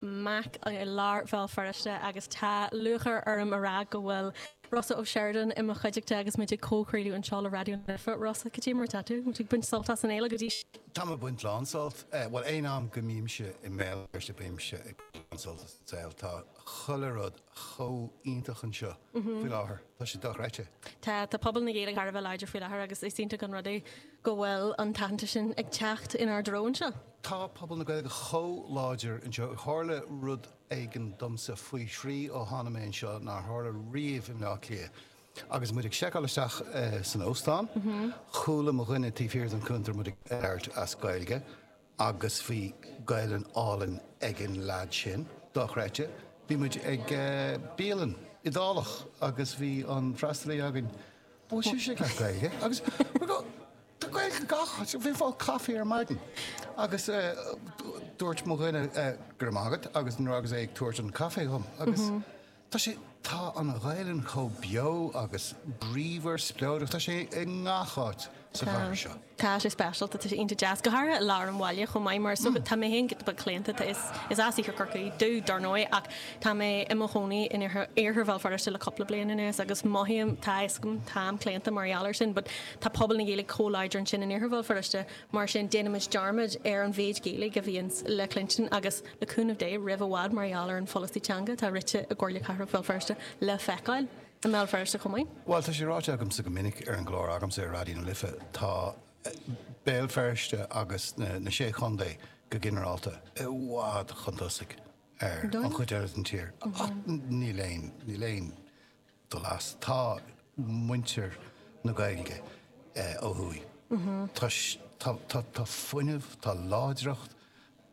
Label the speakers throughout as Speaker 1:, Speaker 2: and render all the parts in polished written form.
Speaker 1: MAC i lár Bhéal Feirste agus tá lúcháir orm a rá go bhfuil Rossa Ó Seireadáin i mo chuideachta agus muid ag comhchraoladh anseo le Raidió na Life. Rossa, cad é mar atá tú? Muid ag baint sult as an fhéile go dtí seo?
Speaker 2: Táim ag baint lán sult. Bhuel, aon am go mbímse i mBéal Feirste bímse ag baint lán sult as an saol. Tá chuile rud chomh iontach anseo faoi láthair. Tá sé dochreidte.
Speaker 1: Tá, tá pobal na Gaeilge thar a bheith láidir faoi láthair agus is iontach an rud é go bhfuil an t-aitheantas sin ag teacht inár dtreo anseo.
Speaker 2: Tá pobal na Gaeilge chomh láidir anseo. Tharla rud éigin domsa faoi thrí ó tháinig mé anseo nár tharla riamh i mBleá Cliath. Agus muid ag seiceáil isteach san óstán, chuala mo dhuine taobh thiar den chuntar muid ag labhairt as Gaeilge agus bhí Gaelainn álainn ag an leaid sin. Dochreidte. Bhí muid ag bialann Iodálach agus bhí an freastalaí againn, bhfuil sibhse ag labhairt Gaeilge? Agus Tá Gaeilge gach áit. Bhí fáil caife ar maidin agus dúirt mo dhuine go raibh maith agat agus nuair agus é ag tabhairt an caife dhom agus tá sé, tá an Ghaelainn chomh beo agus bríomhar spleodrach, tá sé i ngach áit sa chathair seo.
Speaker 1: Tá sé speisialta, tá sé iontach deas, go háirithe i lár an bhaile chomh maith mar is dócha, tá mé féin giota beag claonta, tá, is, is as Iarthar Chorcaí domh dar ndóigh ach tá mé i mo chónaí in Iarthar, Iarthar Bhéal Feirste le cúpla bliain anuas agus mothaím, tá a fhios agam, táim claonta mar gheall air sin but tá pobal na Gaeilge chomh láidir ansin in Iarthar Bhéal Feirste mar sin déanaimid dearmad ar an mhéid Gaeilge a bhíonns le cluinstin agus le cúnamh Dé roimh i bhfad mar gheall ar an pholasaí teanga atá rite i gComhairle Cathrach Bhéal Feirste le feiceáil i mBéal Feirste chomh maith.
Speaker 2: Bhuel, tá sé ráite agamsa go minic ar an gclár agamsa ar Raidió na Life, tá Béal Feirste agus na Sé Chontae go ginearálta i bhfad chun tosaigh ar an chuid eile den tír. Ach níl aon, níl aon dul as. Tá muintir na Gaeilge ó thuaidh. Tá, tá, tá fuinneamh, tá láidreacht,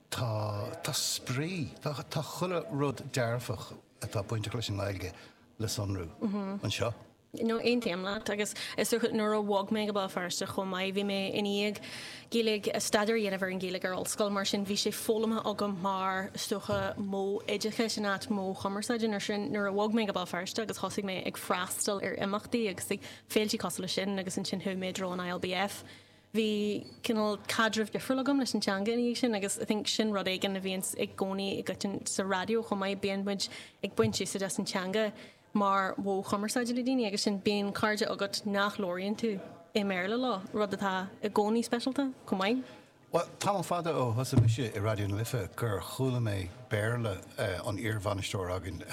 Speaker 2: tá, tá spraoi, tá, tá chuile rud dearfach atá bainteach leis an nGaeilge le sonrú anseo.
Speaker 1: No, aontaím leat agus is dócha nuair a bhog mé go Béal Feirste chomh maith, bhí mé i ndiaidh Gaeilge, staidéar a dhéanamh ar an Ghaeilge ar ollscoil, mar sin bhí sé foghlamtha agam mar, is dócha, modh oideachais in áit modh chumarsáide. Mar sin nuair a bhog mé go Béal Feirste agus thosaigh mé ag freastal ar imeachtaí agus ag féiltí cosúil leis sin agus ansin chuaigh mé i dtreo an ILBF, bhí cineál caidreamh difriúil agam leis an teanga ina dhiaidh sin agus I think sin rud éigin a bhíonns i gcónaí i gcoiteann sa raidió chomh maith, bíonn muid ag baint úsáid as an teanga mar mhodh chumarsáide le daoine agus sin bíonn cairde agat nach labhraíonn tú i mBéarla leo, rud atá i gcónaí speisialta chomh maith.
Speaker 2: Bhuel, tamall fada ó thosaigh mise i Raidió na Life gur chuala mé Béarla an iarbhainisteoir againn,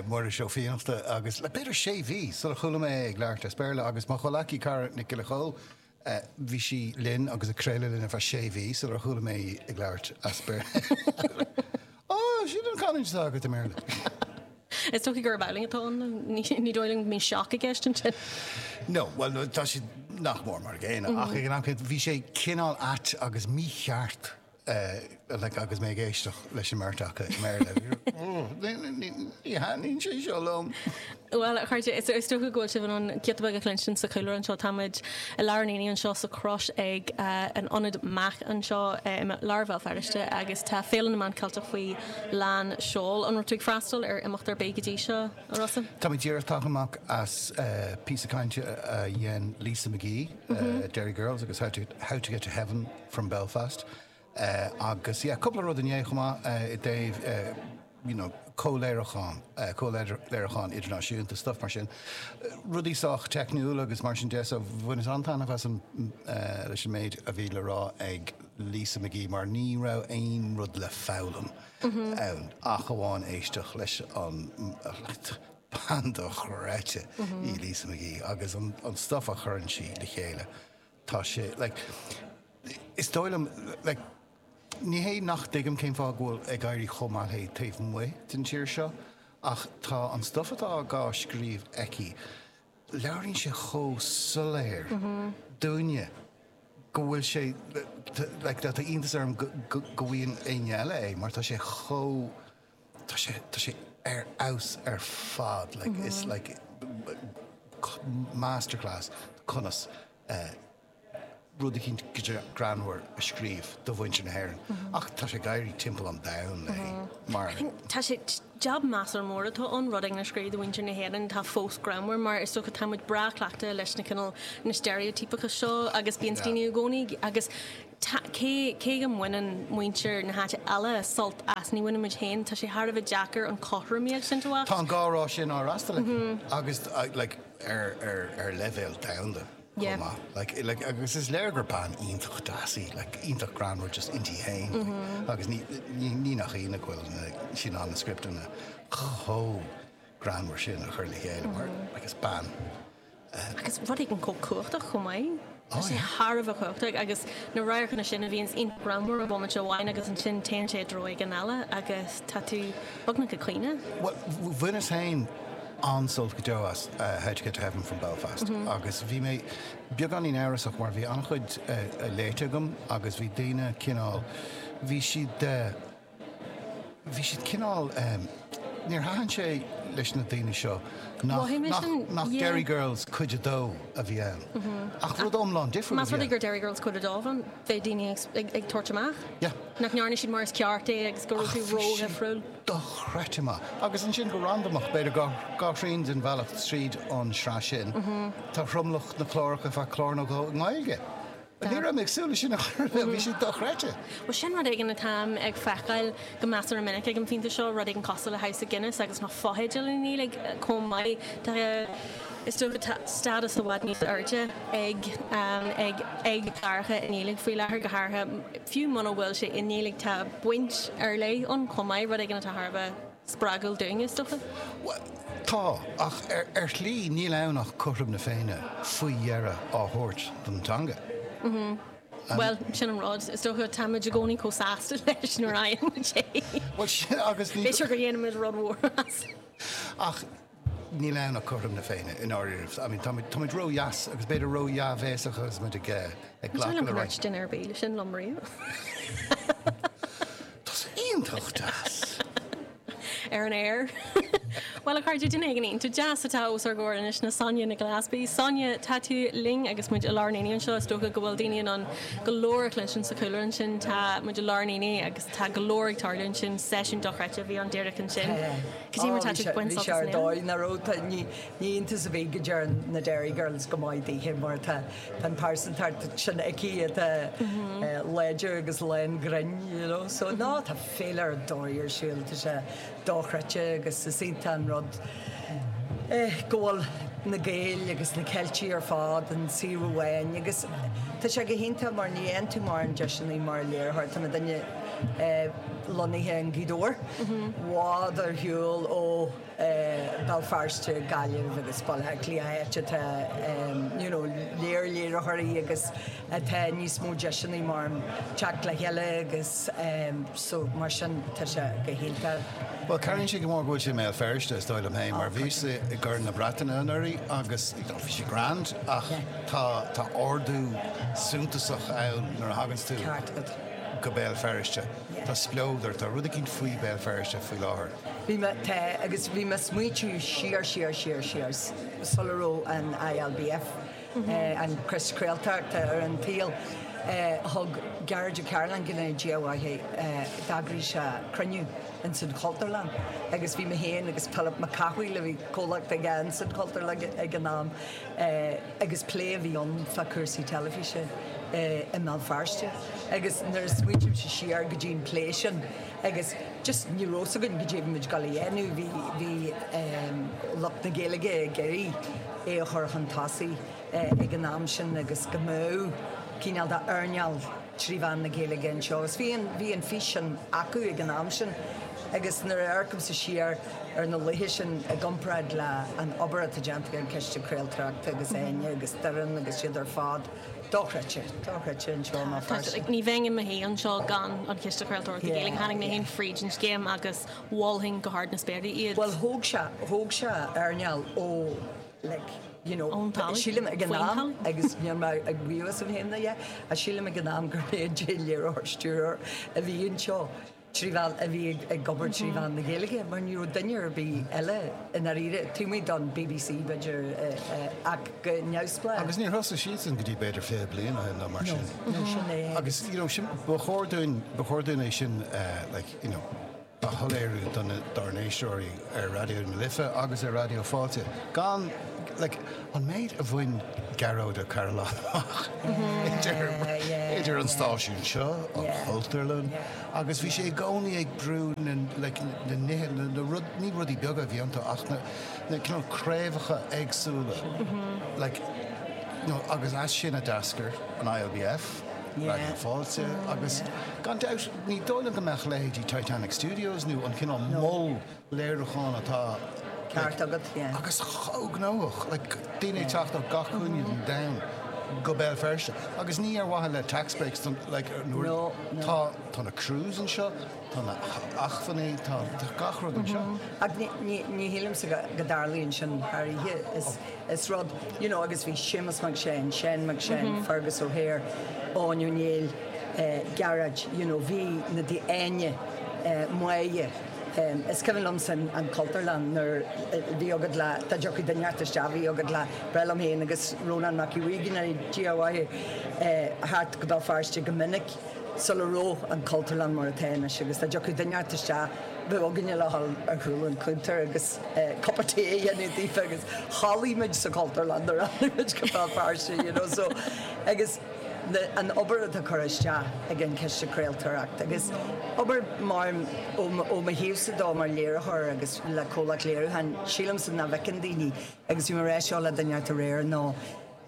Speaker 2: Muiris Ó Fiannachta, agus le b'fhéidir sé mhí sular chuala mé é ag labhairt as Béarla agus mo chomhleacaí cara Nic Giolla Chóill, Bhí sí linn agus ag craoladh linn ar feadh sé mhí sular chuala mé í ag labhairt as Béarla. Ó, sin an canúint atá agat i mBéarla.
Speaker 1: Is dócha gurb amhlaidh atá ann. Ní dóigh liom go mbíonn sioc i gceist ansin.
Speaker 2: No, bhuel, tá sé nach mór mar an gcéanna, ach ag an am céanna bhí sé cineál ait agus mícheart like agus mé ag éisteacht leis an mbeirt acu i mBéarla. Ní thaitníonn sé seo liom.
Speaker 1: Bhuel, a chairde, is dócha go bhfuil sibh in ann giota beag a chluinstin sa chúlra anseo. Tá muid i lár an aonaigh anseo sa Chrois ag an ionad MAC anseo i lár Bhéal Feirste agus tá Féile na Meán Ceilteach faoi lán seoil. An raibh tú ag freastal ar imeacht ar bith go dtí seo, a Rossa?
Speaker 2: Tá mé díreach tagtha amach as píosa cainte a dhein Lisa McGee, Derry Girls agus How to How to Get to Heaven from Belfast agus yeah cúpla rud inné chomh maith i dtaobh you know comhléiriúchán, comhléiriúchán idirnáisiúnta, stuff mar sin. Rudaí sách teicniúil agus mar sin de so bhaineas an-taitneamh as an leis an méid a bhí le rá ag Lisa McGee mar ní raibh aon rud le foghlaim ann ach amháin éisteacht leis an bean dochreidte í Lisa McGee agus an stuff a chuireann sí le chéile. Tá sé, like, is dóigh liom, like, ní hé nach dtuigim cén fáth go bhfuil ag éirí chomh maith léi taobh amuigh den tír seo, ach tá an stuff atá á scríobh aici, labhraíonn sé chomh soiléir dúinne go bhfuil sé, like, tá iontas orm go bhfaigheann éinne eile é mar tá sé chomh, tá sé, tá sé ar fheabhas ar fad, like, it's like masterclass conas rud eicínt greannmhar a scríobh do mhuintir na hÉireann. Ach tá sé ag éirí timpeall an domhain léi mar.
Speaker 1: Tá sé, jab measartha mór atá ann, rud éigin a scríobh do mhuintir na hÉireann atá fós greannmhar mar is dócha tá muid breá cleachtaithe leis na cineál, na steiréitíopacha seo agus bíonn daoine i gcónaí agus. Tá, cé, cé go mbaineann muintir na háite eile sult as, ní bhaineann muid féin. Tá sé thar a bheith deacair an chothromaíocht sin a
Speaker 2: theacht. Tá an gá sin á fhreastal aici agus like ar, ar, ar leibhéal domhanda chomh maith. Like, like agus is léir gur bean iontach deas í, like iontach greannmhar just inti féin like agus ní, ní, ní nach ionadh go bhfuil na, sí in ann na scripteanna chomh greannmhar sin a chur le chéile mar like is bean
Speaker 1: Agus rud éigin chomh cumhachtach chomh maith. Tá sé thar a bheith cumhachtach agus na radharcanna sin a bhíonns iontach greannmhar i bhomaite amháin agus ansin téann sé i dtreo éigin eile agus tá tú beagnach ag caoineadh.
Speaker 2: Bhuel, bhaineas féin an-sult go deo as How to Get to Heaven from Belfast agus bhí mé beagáinín amhrasach mar bhí an-chuid léite agam agus bhí daoine cineál, bhí siad, Bhí siad cineál, níor thaitin sé leis na daoine seo nach, nach, nach Derry Girls cuid a dó a bhí ann. Ach rud iomlán difriúil a bhí ann.
Speaker 1: Más rud é gur Derry Girls cuid a dó a bhí ann, bheadh daoine ag, ag tabhairt amach.
Speaker 2: Yeah.
Speaker 1: Nach ndearna siad mar is ceart é agus go raibh tú ró-dhifriúil.
Speaker 2: Dochreidte maith. Agus ansin go randamach, b'fhéidir dhá, dhá thrian den bhealach tríd an sraith sin, tá tromlach na cláracha feadh clár nó dhó i nGaeilge. Ní raibh mé ag súil leis sin ar chor ar bith, bhí sé dochreidte.
Speaker 1: Bhuel, sin rud éigin atáim ag feiceáil go measartha minic ag an phointe seo, rud éigin cosúil le House of Guinness agus na fotheidil i nGaeilge chomh maith. Tá, is dócha, tá stádas i bhfad níos airde ag, ag, ag cláracha i nGaeilge faoi láthair, go háirithe, fiú muna bhfuil sé i nGaeilge, tá baint ar leith ann chomh maith, rud éigin atá thar a bheith spreagúil dúinn, is dócha.
Speaker 2: Bhuel, tá, ach ar shlí níl ann ach cothrom na Féinne faoi dheireadh á thabhairt don teanga.
Speaker 1: Bhuel, sin an rud. Is dócha, táimid i gcónaí chomh sásta leis nuair a fhaigheann muid é.
Speaker 2: Bhuel, sin agus
Speaker 1: ní. B'fhéidir go ndéanann muid rud mhór as.
Speaker 2: Ach níl ann ach cothrom na Féinne, i ndáiríribh. I mean, táimid, táimid ró-dheas agus b'fhéidir ró-dhea-bhéasach agus muid ag, ag
Speaker 1: glacadh le roinnt. Ní dóigh liom gur dhúirt duine ar bith sin liom riamh.
Speaker 2: Tá sé iontach deas!
Speaker 1: Ar an aer. Bhuel, a chairde, duine éigin iontach deas atá os ár gcomhair anois ná Sonia Nic Gillespie. Sonia, tá tú linn agus muid i lár an aonaigh anseo. Is dócha go bhfuil daoine in ann go leor a chluinstin sa chúlra ansin. Tá muid i lár an aonaigh agus tá go leor ag tarlú ansin. Seisiún dochreidte a bhí ann díreach ansin. Cad é mar tá tú ag baint
Speaker 3: sult as an fhéile? Bhí sé ar dóigh, nach raibh. Ní iontas ar bith go dtéann na Derry Girls go maith daoithe mar tá Tá an pearsantacht sin aici atá láidir agus lán grinn, you know. So no, tá féile ar dóigh ar siúl, tá sé dochreidte agus is iontach an rud go bhfuil na Gaeil agus na Ceiltigh ar fad in suíomh amháin agus tá sé go hiontach mar ní fhaigheann tú mórán deiseanna mar léiritheoir, tá muidinne lonnaithe i nGaoth Dobhair, i bhfad ar shiúl ó Béal Feirste, Gaillimh agus Baile Átha Cliath, áit atá you know léir léiritheoirí agus atá níos mó deiseanna mar teacht le chéile agus so mar sin tá sé go hiontach.
Speaker 2: Bhuel, cabhraíonn sé go mór go bhfuil sé i mBéal Feirste, is dóigh liom féin, mar bhíos-sa i gCorn na Breataine anuraidh agus bhí sé grand ach tá tá ardú suntasach ann nuair a thaganns tú go Béal Feirste. Tá spleodar, tá rud eicínt faoi Béal Feirste faoi láthair.
Speaker 3: Bhí mé, tá, agus bhí mé ag smaoitiú siar, siar, siar, siar, sula raibh an ILBF, an Coiste Craoltóireachta ar an tsaol, thug Gearóid Ó Cairealláin, go ndéana Dia a mhaith é, d'eagraigh sé cruinniú ins an Chultúrlann agus bhí mé féin agus Pilib Mac Cathmhaoil, a bhí comhlacht aige ins an Chultúrlann ag an am, agus plé a bhí ann fá cúrsaí teilifíse i mBéal Feirste agus nuair a smaoitímse siar go dtí an plé sin, Agus just ní raibh fhios againn goidé a bhí muid ag dul a dhéanamh, bhí, bhí lucht na Gaeilge ag iarraidh é a chur chun tosaigh ag an am sin agus go mbeadh cineál de earnáil trí mheán na Gaeilge anseo agus bhí an, bhí an fís sin acu ag an am sin agus nuair a amharcaimse siar ar na laethe sin i gcomparáid le an obair atá déanta ag an Chiste Craoltóireachta agus Áine agus Doireann agus siad ar fad, Dochreidte, dochreidte anseo i mBéal Feirste.
Speaker 1: Ní bheinn i mo shuí anseo gan an Ciste Craoltóireachta Gaeilge. Tháinig mé féin fríd an scéim agus mholfainn go hard na spéire iad.
Speaker 3: Bhuel thóg sé, thóg sé earnáil ó like, you know,
Speaker 1: Ón talamh,
Speaker 3: sílim ag an
Speaker 1: faoin
Speaker 3: am
Speaker 1: talamh.
Speaker 3: agus níl mé ag maíomh asam féin ná a dhath, ach sílim ag an am gur mé an t-aon léiritheoir stiúrthóir a bhí anseo. 3 mheán, a bhí ag obair 3 mheán na Gaeilge, mar ní raibh duine ar bith eile i ndáiríre, taobh amuigh don BBC b'fhéidir, ach go neamhspleách.
Speaker 2: Agus níor thosaigh siadsan go dtí b'fhéidir 20 bliain ó shin nó mar
Speaker 3: sin. No, no, sin é.
Speaker 2: Agus, you know, sin, ba chóir dúinn, ba chóir dúinn é sin, like, you know, a shoiléiriú do na, dár n-éisteoirí ar Raidió na Life agus ar Raidió Fáilte, gan, like, an méid a bhain Gearóid Ó Cairealláin amach idir, idir an stáisiún seo, an Chultúrlann, agus bhí sé i gcónaí ag brú na, like, na nithe, na, na rud, ní rudaí beaga a bhí iontu ach na, na cineál craobhacha éagsúla, like, you know, agus as sin a d'eascair an ILBF, Raidió Fáilte, agus gan dabht ní dóigh liom go mbeadh leithéidí Titanic Studios nó an cineál mol léiriúcháin atá
Speaker 3: Ceart agat, yeah.
Speaker 2: agus chomh gnóthach, like daoine ag teacht ó gach cúinne den domhan go Béal Feirste agus ní ar mhaithe le tax breaks don like nuair
Speaker 3: No, no.
Speaker 2: tá tá na crews anseo, tá na hacmhainní, tá tá gach rud anseo.
Speaker 3: Ach ní ní ní shílimse go go dtarlaíonn sin thar oíche. Is is rud you know agus bhí Séamus Mac Seáin, Seán Mac Seáin, Fergus O'Hare, Eoin Ó Néill, eh Gearóid, you know bhí na daoine Áine, eh Máire, Is cuimhin liomsa an Chultúrlann nuair a bhí agat le, dá dtiocfadh duine inteacht isteach bhí agat le breith liom féin agus Rónán Mac Aodha Bhuí, go ndéana Dia a mhaith é, thart go Béal Feirste go minic sula raibh an Chultúrlann mar atá anois agus dá dtiocfadh duine inteacht isteach bheadh againne le dhul ar chúl an chuntair agus cupa tae a dhéanamh daofa agus chodlaigh muid sa Chultúrlann nuair a tháinig muid go Béal Feirste you know so agus an obair atá curtha isteach ag an Chiste Craoltóireachta agus obair mar ó mo thaobhsa dó mar léiritheoir agus le comhlacht léiriúcháin, sílimse nach bhfeiceann daoine agus bhí mé ag rá seo le duine inteacht aréir ná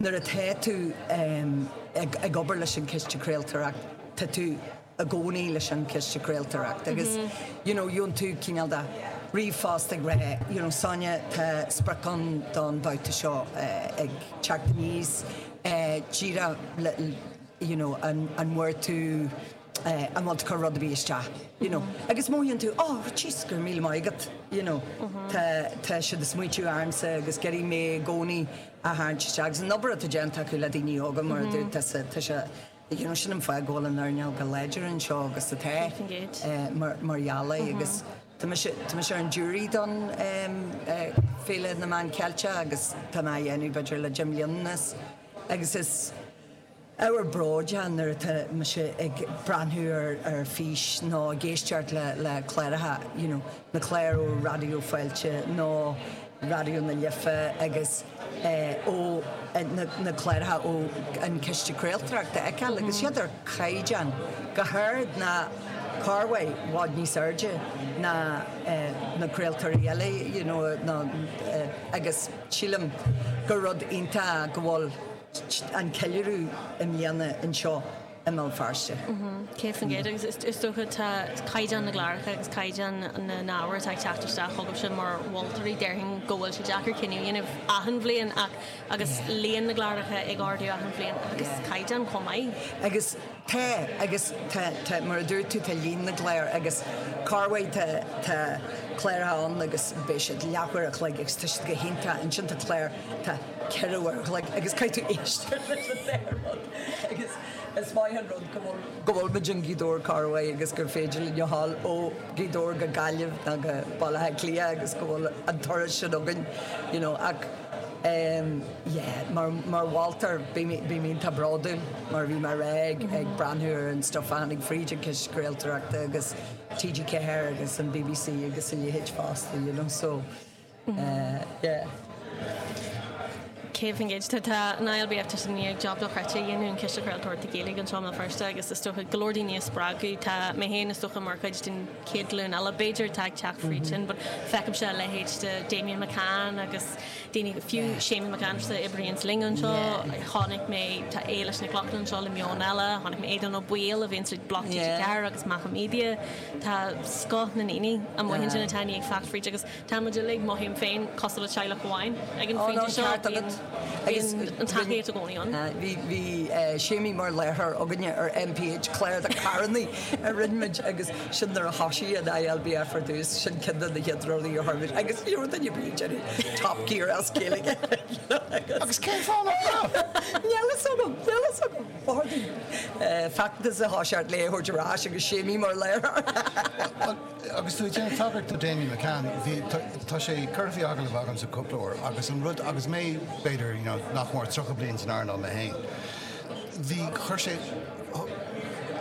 Speaker 3: nuair atá tú ag obair leis an Chiste Craoltóireachta tá tú i gcónaí leis an Chiste Craoltóireachta agus you know gheobhann tú cineál de ríomhphost ag rá you know Sonia tá sprioc ann don bhabhta seo ag teacht aníos díreach le you know an bhfuair tú an bhfuil tú ag cur rud ar bith isteach you know agus mothaíonn tú oh jeez go raibh míle maith agat you know tá tá siad ag smaoitiú ormsa agus ag iarraidh mé i gcónaí a tharraingt isteach agus an obair atá déanta acu le daoine óga mar a dúirt tusa tá sé you know sin an fáth go bhfuil an earnáil chomh láidir anseo agus atá mar mar gheall air agus Tá mise, tá mise ar an jury don Féile na Meán Ceilteach agus tá mé á dhéanamh b'fhéidir le deich mbliana anuas agus is ábhar bróid é nuair atá mise ag breathnú ar ar fís nó ag éisteacht le le cláracha, you know, na cláir ó Raidió Fáilte nó Raidió na Life agus ó na cláracha ó an Ciste Craoltóireachta a fheiceáil agus iad ar chaighdeán go hard nó corruair i bhfad níos airde ná na craoltóirí eile you know nó agus sílim gur rud iontach go bhfuil an ceiliúradh i mbliana anseo i mBéal Feirste.
Speaker 1: 100% agus is dócha tá caighdeán na gcláracha agus caighdeán na n-ábhar atá ag teacht isteach chugaibhse mar mholtóirí, déarfainn go bhfuil sé deacair cinneadh a dhéanamh achan bhliain ach agus líon na gcláracha ag ardú achan bhliain agus caighdeán chomh maith.
Speaker 3: Agus tá, agus tá, tá, mar a dúirt tú, tá líon na gclár agus corruair tá, tá cláracha ann agus beidh siad leathuair a chloig agus tá siad go hiontach, ansin tá clár, tá 4 uair a chloig agus caithfidh tú éisteacht leis an dá rud agus is maith an rud go bhfuil go bhfuil muid in Gaoth Dobhair corruair agus gur féidir linn a ghabháil ó Ghaoth Dobhair go Gaillimh nó go Baile Átha Cliath agus go bhfuil an turas sin againn you know ach ehm yeah mar mar mholtóir bím bím iontach bródúil mar a bhí mé a rá ag ag breathnú ar an stuff a tháinig fríd an Ciste Craoltóireachta agus TG4 agus an BBC agus a leithéid fosta you know so Yeah.
Speaker 1: 100%. Tá an ILBF tá siad i ndiaidh job dochreidte a dhéanamh, an Ciste Craoltóireachta Gaeilge anseo i mBéal Feirste agus is dócha go leor daoine a spreagadh. Tá mé féin is dócha mar chuid den chéad ghlúin eile b'fhéidir atá ag teacht fríd sin but feicimse a leithéid de Damien McCann agus daoine, fiú Séimí Mac Aindreasa a oibríonns linn anseo, chonaic mé, tá Éilis Nic Lochlainn anseo le Meon Eile, chonaic mé Aodán Ó Baoill a bhíonns le Bloc TG4 agus Macha Media. Tá scoth na ndaoine amuigh ansin atá i ndiaidh teacht fríd agus Tá muid uilig, mothaím féin, cosúil le teaghlach amháin ag an phointe seo. Bíonn an tacaíocht i gcónaí ann.
Speaker 3: Bhí bhí Séimí mar láithreoir againne ar MPH, clár do charrannaí a rinne muid agus sin nuair a thosaigh an ILBF ar dtús, sin ceann de na chéad rudaí a chuir muid agus ní raibh duine ar bith ag déanamh Top Gear as Gaeilge.
Speaker 2: Agus cén fáth nach raibh?
Speaker 3: Níl fhios agam, níl fhios agam. Feachtas a thoiseacht le é a thabhairt ar ais agus Séimí mar láithreoir.
Speaker 2: Agus tú ag déanamh tagairt do Damien McCann, bhí, tá sé curtha faoi agallamh agamsa cúpla uair agus an rud, agus mé b'fhéidir, you know, nach mór 30 bliain san earnáil mé féin, bhí, chuir sé,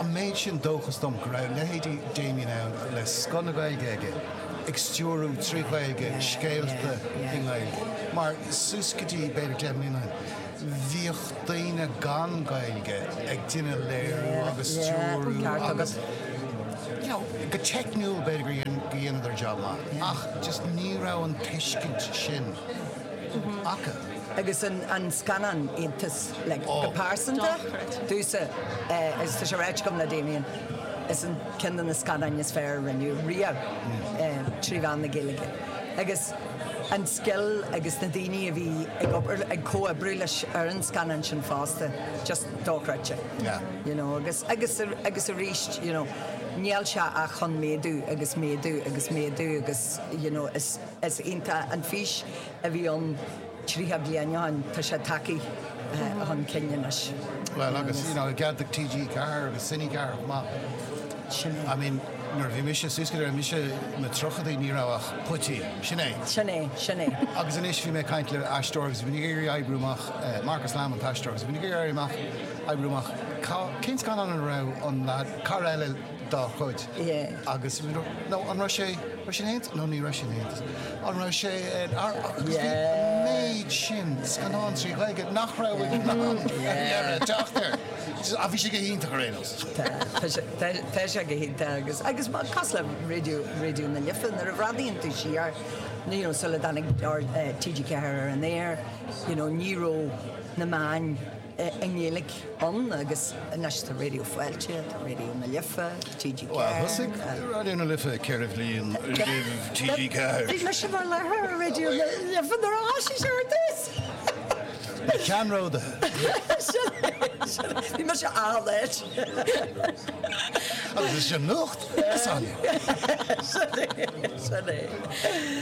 Speaker 2: an an méid sin dóchas dom go raibh leithéidí Damien ann le scoth na Gaeilge aige ag stiúrú trí Ghaeilge scéalta i nGaeilge. Mar suas go dtí b'fhéidir 10 mbliana ó shin, bhíodh daoine gan Gaeilge ag déanamh léiriú agus stiúrú agus you know, go teicniúil b'fhéidir gur dhein, go dheineadar job maith ach just ní raibh an tuiscint sin acu.
Speaker 3: Agus an scannán Aontas, like, go pearsanta, domhsa, agus tá sé ráite agam le Damien, is an ceann de na scannáin is fearr a rinneadh riamh trí mheán na Gaeilge. Agus an scil agus na daoine a bhí ag obair, ag comhoibriú leis ar an scannán sin fosta, just dochreidte. You know, agus, agus, agus arís, you know, níl sé ach chun méadú agus méadú agus méadú agus, you know, is, is iontach an fís a bhí ann 30 bliain ó shin, tá sé tagtha chun cinn anois.
Speaker 2: Bhuel agus, you know, i gcead do TG4 agus Cine 4 chomh maith.
Speaker 3: Sin é.
Speaker 2: I mean, nuair a bhí mise suas go dtí mise sna tríochaidí ní raibh ach poitín. Sin é.
Speaker 3: Sin é, sin é.
Speaker 2: Agus anois bhí mé ag caint le aisteoir agus bhí mé ag iarraidh oibriú amach, Marcus Lamb an t-aisteoir, agus bhí mé ag iarraidh amach, oibriú amach cá, cén scannán ina raibh an leaid, cara eile dá chuid agus nó an raibh sé raibh sé in Aontas nó ní raibh sé in Aontas an raibh sé in agus bhí an méid sin scannán trí Ghaeilge nach raibh in ann ar dheireadh teacht air. Ach bhí sé go hiontach ar aon nós.
Speaker 3: Tá tá sé go hiontach agus agus cosúil le Raidió Raidió na Life nuair a bhreathnaíonn tú siar you know sula dtáinig TG4 ar an aer you know ní raibh na meáin i nGaeilge ann agus anois tá Raidió Fáilte, tá Raidió na Life, TG4.
Speaker 2: Bhuel, thosaigh Raidió na Life ceithre bhliain roimh TG4.
Speaker 3: Bhí mise mar láithreoir ar Raidió na Life nuair a thosaigh sé ar dtús!
Speaker 2: Na ceannródaithe!
Speaker 3: Sin é, sin é. Bhí mise an-late.
Speaker 2: Agus is sin nuacht, a Sonia.
Speaker 3: Sin é, sin é.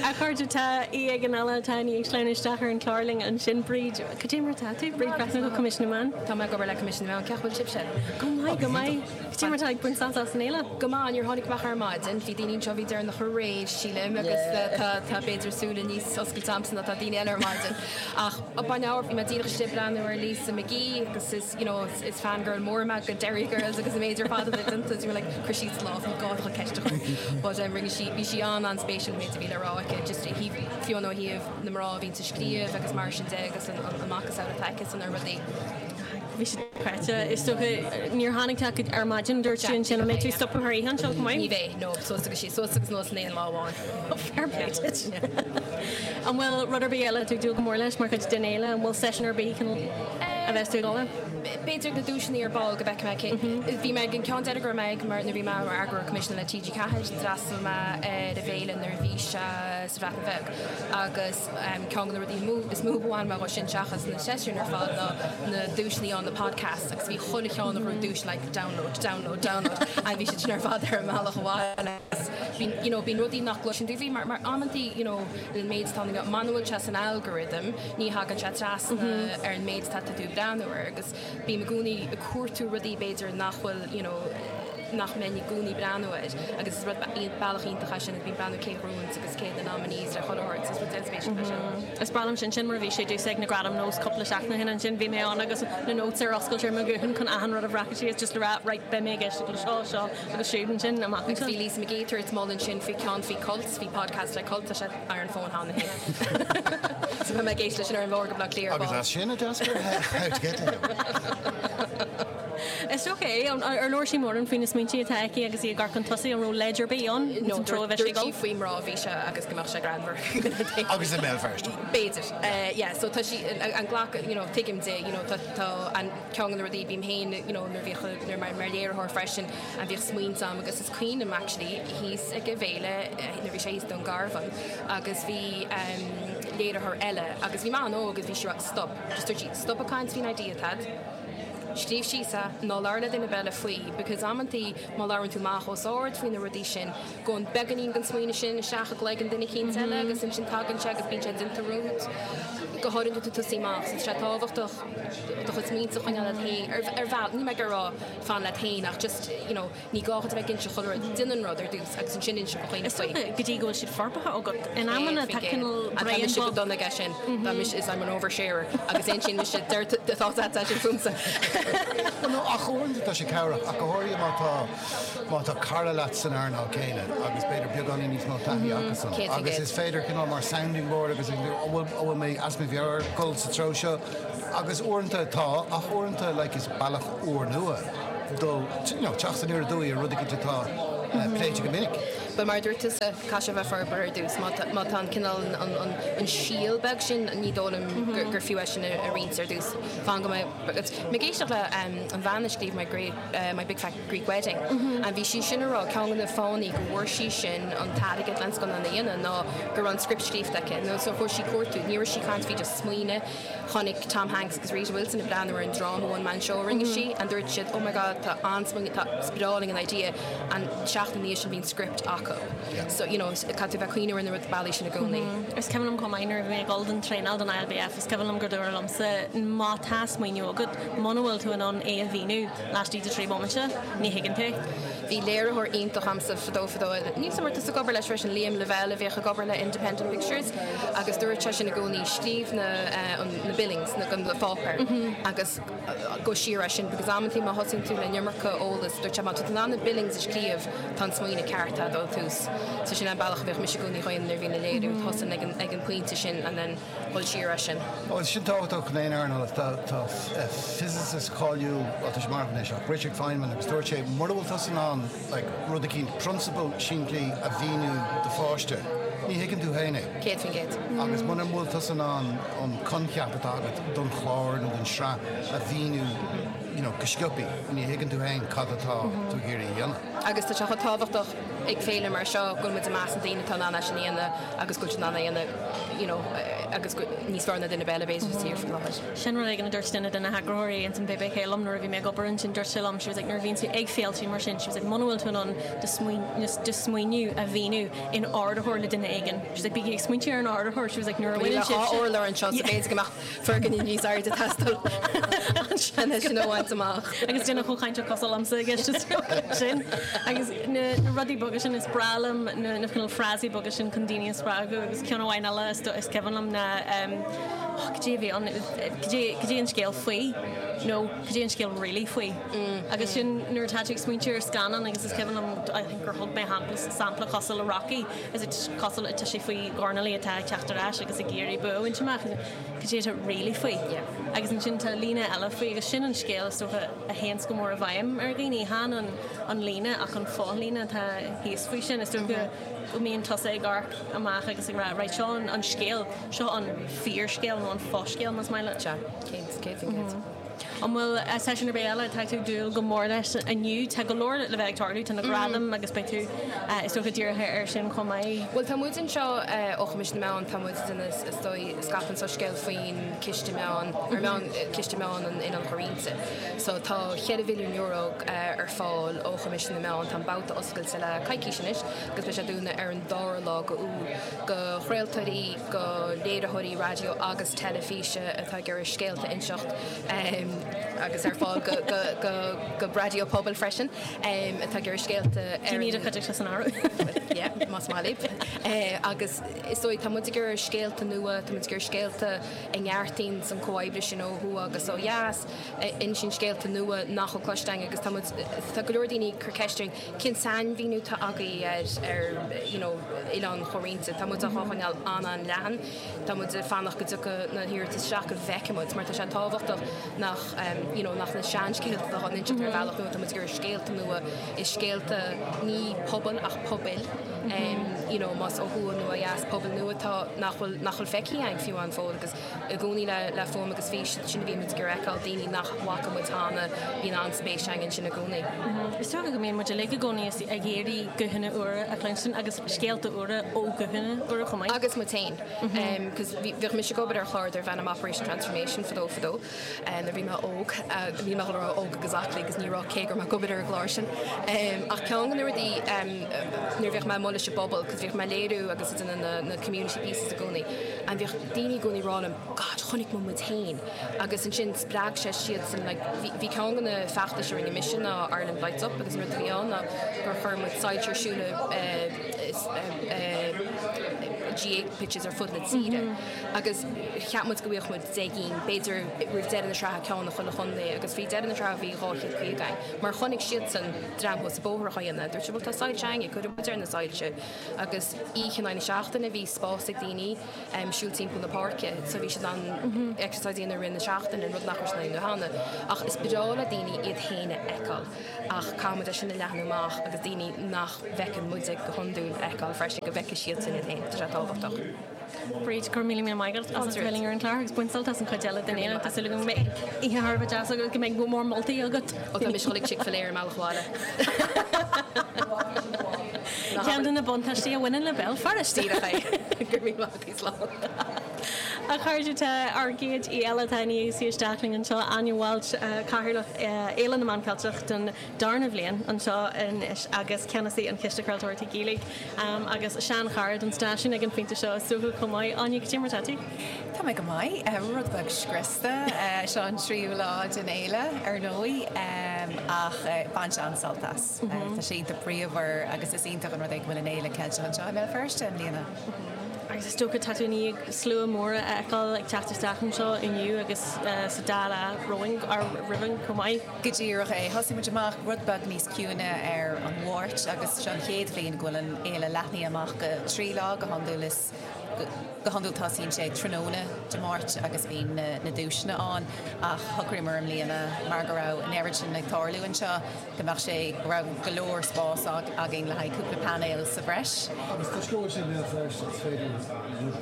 Speaker 1: A chairde, tá aoi éigin eile atá i ndiaidh sleamhnú isteach ar an chlár linn ansin, Bríd. Cad é mar atá tú? Bríd Breathnach ó Coimisiún na Meán.
Speaker 4: Tá mé ag obair le Coimisiún na Meán. Cén chaoi a bhfuil sibhse?
Speaker 1: Go maith, go maith. Cad é mar atá ag baint sult as an fhéile?
Speaker 4: Go maith, níor tháinig mé ach ar maidin. Bhí daoine anseo a bhí deireanach aréir, sílim, agus tá tá b'fhéidir súile níos oscailte a'msa ná tá daoine eile ar maidin. Ach up an hour, bhí mé díreach istigh ag breathnú ar Lisa McGee agus is, you know, is fangirl mór mé go Derry Girls agus an méid ar fad atá déanta. Bhí mé like, cuir síos do lámh, ní gá duit ceist a chur. But um, rinne sí, bhí sí an-an-spéisiúil an méid a bhí le rá aici, just fiú ó thaobh na mná a bhíonns ag scríobh agus mar sin de agus an macasamhail atá aici san ar rudaí.
Speaker 1: Bhí sé dochreidte. Is dócha níor tháinig tú ach ar maidin, dúirt tú ansin, an mbeidh tú ag stopadh thar oíche anseo chomh maith?
Speaker 4: Ní bheidh, no, suas agus síos, suas agus anuas in aon lá amháin.
Speaker 1: Fair play duit. An bhfuil rud ar bith eile atá tú ag dúil go mór leis mar chuid den fhéile? An bhfuil seisiún ar bith a bheas tú ag dul air?
Speaker 4: B'fhéidir na duaiseanna ar ball go bhfeicfidh mé cé. Bhí mé ag an ceann deiridh go raibh mé ag mar nuair bhí mé mar eagarthóir coimisiúnaithe le TG4, d'fhreastail mé ar an bhféile nuair a bhí sé sa Bhreatain Bheag. Agus ceann de na rudaí is mó ba bhain mé dhó sin seachas na seisiúin ar fad ná na duaiseanna ann, na podcasts, agus bhí chuile cheann a ghnóthaigh duais like download, download, download and bhí siad sin ar fad ar an mbealach abhaile agus bíonn, you know, bíonn rudaí nach gcloiseann tú faoi mar, mar amantaí, you know, an méid atá ann, muna bhfuil sé san algorithm ní thagann sé trasna ar an méid atá tú ag breathnú air agus bím i gcónaí ag cuartú rudaí b'fhéidir nach bhfuil, you know, nach mbeinn i gcónaí breathnú air agus is rud bealach iontach é sin agus bím breathnú cé a ghnóthaíonns agus cé na nominees le chuile shórt so is rud an-spéisiúil é sin.
Speaker 1: Is breá liom sin, sin mar a bhí sé domhsa ag na Gradaim Nós cúpla seachtain ó shin ansin bhí mé ann agus na notes ar oscailt ar mo ghuthán chun achan rud a bhreacadh síos just le rá right beidh mé ag éisteacht le seo, seo agus siúd ansin amach
Speaker 4: Agus bhí Lisa McGee ag tabhairt moladh ansin faoi ceann faoi cults, bhí podcast le cult, tá sé ar an bhfón cheana féin. So beidh mé ag éisteacht leis sin ar an bhóthar go Baile Átha Cliath ar
Speaker 2: Agus
Speaker 4: ball.
Speaker 2: as sin a d'eascair How to Get to Heaven.
Speaker 1: Is dócha é. Ar labhair sí mórán faoi na smaointe atá aici agus í ag amharc chun tosaigh? An raibh leid ar bith ann
Speaker 4: No,
Speaker 1: san treo a bheidh sí ag
Speaker 4: dúirt sí
Speaker 1: dul?
Speaker 4: faoi mná a bhí sé agus go mbeadh sé greannmhar.
Speaker 2: Agus i mBéal Feirste.
Speaker 4: B'fhéidir. Yeah, so tá sí, an glacadh, you know, tuigim di, you know, tá, tá an ceann de na rudaí, bím féin, you know, nuair a bhíodh, nuair mar, mar léiritheoir freisin, an bhíodh smaointe a'm agus is cuimhin liom actually thíos ag an bhféile, nuair a bhí sé thíos Dún Garbhán agus bhí léiritheoir eile agus bhí mé an-óg agus bhí sí ag rá stop, just dúirt sí stop ag caint faoin idea atá a'd. Scríobh síos é, ná labhair le duine ar bith eile faoi because amantaí má labhrann tú amach os ard faoi na rudaí sin, gabhann beagáinín den smaoineamh sin isteach i gcloigeann duine eicínt eile agus ansin tagann sé agus bíonn sé déanta romhat. Go háirithe nuair atá tú ag tosaí amach, so tá sé tábhachtach do chuid smaointe a choinneáil leat féin ar bhealach, níl mé ag rá fan leat féin ach just, you know, ní gá duit a bheith ag inse chuile rud, déan an rud ar dtús agus ansin inse do dhaoine
Speaker 1: Is
Speaker 4: faoi.
Speaker 1: dócha go dtí go bhfuil siad forbartha agat. In amanna tá
Speaker 4: 100%.
Speaker 1: cineál
Speaker 4: Tá
Speaker 1: braon
Speaker 4: mise go
Speaker 1: bog.
Speaker 4: dona aige sin. Tá mise, is I'm an oversharer agus insíonn mise deir tá tá sin fúmsa.
Speaker 2: Bhuel no, ach uaireanta tá sé cabhrach, ach go háirithe má tá má tá cara leat san earnáil céanna agus b'fhéidir beagáinín níos mó taithí acusan agus
Speaker 4: 100%.
Speaker 2: is féidir cineál mar sounding board agus an bhfuil an bhfuil mé as mo mheabhair dul sa treo seo agus uaireanta tá ach uaireanta like is bealach úrnua dul you know teacht aniar aduaidh ar rud éicint atá pléite go minic.
Speaker 4: Bhuel mar a dúirt tusa, caithfidh sé a bheith forbartha ar dtús. Má tá má tá an cineál an an an síol beag sin, ní dóigh liom gur gur fiú é sin a a roinnt ar dtús. Fan go mbeidh mé ag éisteacht le an bhean a scríobh My Great My Big Fat Greek Wedding and bhí sí sin ag rá ceann de na fáthanna go bhfuair sí sin an t-airgead len scannán a dhéanamh ná go raibh an script scríofa aici nó so chuir sí cuartú ní raibh sí ag caint faoi just smaoineamh chonaic Tom Hanks agus Rita Wilson ag breathnú ar an dráma one man show a rinne sí and dúirt siad oh my god tá an-smaoineamh tá is breá linn an idea and seachtain ina dhiaidh sin bhí an script acu so you know caithfidh tú bheith ag cuimhneamh ar na rud bealaí sin i gcónaí.
Speaker 1: Is cuimhin liom chomh maith nuair a bhí mé ag dul don traenáil don ILBF is cuimhin liom gur dúradh liomsa má tá smaoineamh agat muna bhfuil tú in ann é a mhíniú laistigh de 3 bomaite ní thuigeann tú.
Speaker 4: Bhí léiritheoir iontach a'msa fadó fadó, níl 's a'm an raibh tusa ag obair leis freisin, Liam Lavelle a bhíodh ag obair le Independent Pictures agus dúirt seisean i gcónaí scríobh na na billings, na na pháipéir agus go siar as sin because amantaí má thosaíonn tú le an iomarca eolas, dúirt sé má tá tú in ann na billings a scríobh tá an smaoineamh ceart a'd ó tús. So sin an bealach a bhíodh mise i gcónaí a dhéanamh nuair a bhínn ag léiriú, tosóinn ag an ag an pointe sin and then dul siar as sin.
Speaker 2: Bhuel, sin tábhachtach in aon earnáil. Tá tá physicist cáiliúil, bhuel tá sé marbh anois, ach Richard Feynman agus dúirt sé mura bhfuil tusa in ann like rud eicínt, prionsabal simplí a mhíniú do pháiste, ní thuigeann tú féin é.
Speaker 4: 100%.
Speaker 2: Agus muna bhfuil tusa in ann an coincheap atá agat don chlár nó don sraith a mhíniú you know go sciobtha, ní thuigeann tú féin cad atá tú ag iarraidh a dhéanamh.
Speaker 4: Agus tá sé chomh tábhachtach ag féile mar seo go bhfuil muid i measc na daoine atá in ann é sin a dhéanamh agus go bhfuil siad in ann é a dhéanamh you know agus go níos fearr ná duine ar bith eile b'fhéidir sa tír faoi láthair.
Speaker 1: Sin rud éigin a dúirt duine de na heagraitheoirí ins an BBK liom nuair a bhí mé ag obair ansin, dúirt sé liom, she was like nuair a bhíonn tú ag féiltí mar sin, she was like muna bhfuil tú in ann do do smaoineamh a mhíniú in ardaitheoir le duine éigin, she was like bígí ag smaointiú ar an ardaitheoir, she was like nuair a bhaineann
Speaker 4: sibhse. Níl urlár anseo so b'fhéidir go mbeadh foirgneamh níos airde ag teastáil ansin sin a bhaint amach.
Speaker 1: Agus duine chomh cainteach cosúil liomsa i gceist is dócha sin. Agus na rudaí beaga sin, is breá liom na cineál frásaí beaga sin chun daoine a spreagadh agus ceann amháin eile is cuimhin liom ná oh cad é a bhí ann, cad é cad é an scéal faoi nó cad é an scéal really faoi. Agus sin nuair atá tú ag smaointiú ar scannán agus is cuimhin liom I think gur thug mé sampla cosúil le Rocky is it cosúil tá sé faoi dhornálaí atá ag teacht ar ais agus ag iarraidh bua a bhaint amach. Cad é atá really faoi? Agus ansin tá líne eile faoi agus sin an scéal is dócha a théanns go mór i bhfeidhm ar dhaoine. Chan an an líne ach an fothlíne atá thíos faoi sin. Is dócha go mbíonn tusa ag amharc amach agus ag rá right seo an an scéal, seo an fíorscéal nó an foscéal más maith leat.
Speaker 4: Sea, 100%.
Speaker 1: An bhfuil seisiún ar bith eile atá tú ag dúil go mór leis inniu? Tá go leor le bheith ag tarlú, tá na gradaim agus beidh tú is dócha dírithe air sin chomh maith.
Speaker 4: Bhuel tá muid anseo ó Choimisiún na Meán, tá muid duine is dóigh a scaipeann soiscéal faoin Ciste Meán, ar meán, Ciste Meán an Oileáin Chomhroinnte. So tá €4 mhilliún ar fáil ó Choimisiún na Meán, tá an babhta oscailte le coicís anois agus beidh sé dúnadh ar an dara lá go Iúil go chraoltóirí, go léiritheoirí raidió agus teilifíse atá ag iarraidh scéalta a inseacht agus ar fáil go raidió pobail freisin atá ag iarraidh scéalta ar
Speaker 1: Daoine de chuid san áireamh.
Speaker 4: Yeah, más maith libh. Agus is dóigh tá muid ag iarraidh scéalta nua, tá muid ag iarraidh scéalta a neartaíonn an comhoibriú sin ó thuaidh agus ó dheas, a insíonn scéalta nua nach bhfuil cloiste againn agus tá muid, tá go leor daoine ag cur ceist orainn Cén sainmhíniú atá agaibh ar ar you know oileán chomhroinnte? Tá muid á choinneáil an-an-leathan. Tá muid ag fanacht go dtiocfaidh na hiarratais isteach go bhfeicfidh muid mar tá sé tábhachtach nach you know nach na seanscéalta atá á n-inseacht ar bhealach nua, tá muid ag iarraidh scéalta nua, is scéalta ní pobail ach pobail you know más ó thuaidh nó ó dheas, pobail nua atá nach bhfuil nach bhfuil feicthe againn fiú amháin fóill agus I gcónaí le fuaim agus fís, sin a bhíonn muid ag iarraidh a fheiceáil, daoine nach bhfaca muid cheana, bíonn an-spéis againn ansin i gcónaí.
Speaker 1: Is dócha go mbíonn muid uilig i gcónaí ag iarraidh guthanna úra a chluinstin agus scéalta úra ó ghuthanna úra chomh maith.
Speaker 4: Agus muid féin. Cos bhíodh mise ag obair ar chlár darbh ainm Operation Transformation fadó fadó nuair a bhí mé óg, níl mé ag dul a rá óg agus aclaí agus ní raibh cé go raibh mé ag obair ar an gclár sin. Ach ceann de na rudaí nuair a bhíodh mé amuigh leis an bpobal, cos bhíodh. bhíodh mé ag léiriú agus ag déanamh na na community pieces i gcónaí and bhíodh daoine i gcónaí ag rá liom God chonaic mé muid féin agus ansin spreag sé siadsan like bhí bhí ceann de na feachtais a rinne mise ná Ireland Lights Up agus an rud a bhí ann ná gur chuir muid soilse ar siúl i GAA pitches ar fud na tíre agus cheap muid go bhfaigheadh muid 10 gcinn b'fhéidir roimh deireadh na sraithe ceann i chuile chontae agus faoi dheireadh na sraithe bhí 250 againn mar chonaic siadsan dream thuas an bóthar á dhéanamh. Dúirt siad bhuel tá soilse againne, cuirfidh muid ar na soilse agus oíche in aghaidh na seachtaine bhí spás ag daoine siúl timpeall na páirce so bhí siad in ann exercise a dhéanamh i rith na seachtaine, an rud nach raibh siad in ann a dhéanamh cheana. Ach is breá le daoine iad féin a fheiceáil ach caithfidh muid é sin a leathnú amach agus daoine nach bhfeiceann muide go hiondúil a fheiceáil freisin, go bhfeicfidh siadsan iad féin. Tá sé tábhachtach.
Speaker 1: Bríd, go raibh míle míle maith agat as a bheith linn ar an chlár agus bain sult as an chuid eile den fhéile. Tá súil agam go mbeidh oíche thar a bheith deas agat, go mbeidh go mór moltaí agat.
Speaker 4: Ó tá mise ag dul ag Chick-fil-A ar an mbealach abhaile.
Speaker 1: Ceann de na buntáistí a bhaineann le Béal Feirste.
Speaker 4: Díreach é. Go raibh míle maith agat, slán.
Speaker 1: A chairde, tá ár gcéad aoi eile atá i ndiaidh suí isteach linn anseo, Áine Walsh, Cathaoirleach Fhéile na Meán Ceilteach don darna bhliain anseo anois agus Ceannasaí an Chiste Craoltóireachta Gaeilge. Agus sean-chara don stáisiún ag an phointe seo is dócha chomh maith. Áine, cad é mar atá tú?
Speaker 5: Tá mé go maith. Rud beag scriosta. Seo an tríú lá den fhéile, ar ndóigh, ach bainte an-sult as. Tá sé iontach bríomhar agus is iontach an rud é go bhfuil an fhéile Ceilteach anseo i mBéal Feirste i mbliana.
Speaker 1: Agus is dócha tá tú i ndiaidh slua mór a fheiceáil ag teacht isteach anseo inniu agus sa dá lá romhainn, roimhe chomh maith.
Speaker 5: Go díreach é. Thosaigh muid amach rud beag níos ciúine ar an Mháirt agus seo an chéad bhliain go bhfuil an fhéile leathnaithe amach go 3 lá, go hiondúil is go hiondúil tosaíonn sé tráthnóna Dé Máirt agus bíonn na duaiseanna ann ach shocraíomar i mbliana mar go raibh an oiread sin ag tarlú anseo go mbeadh sé, go raibh go leor spás againn le haghaidh cúpla painéal sa bhreis.
Speaker 2: Agus toisc go bhfuil sé i mBéal Feirste is féidir rud.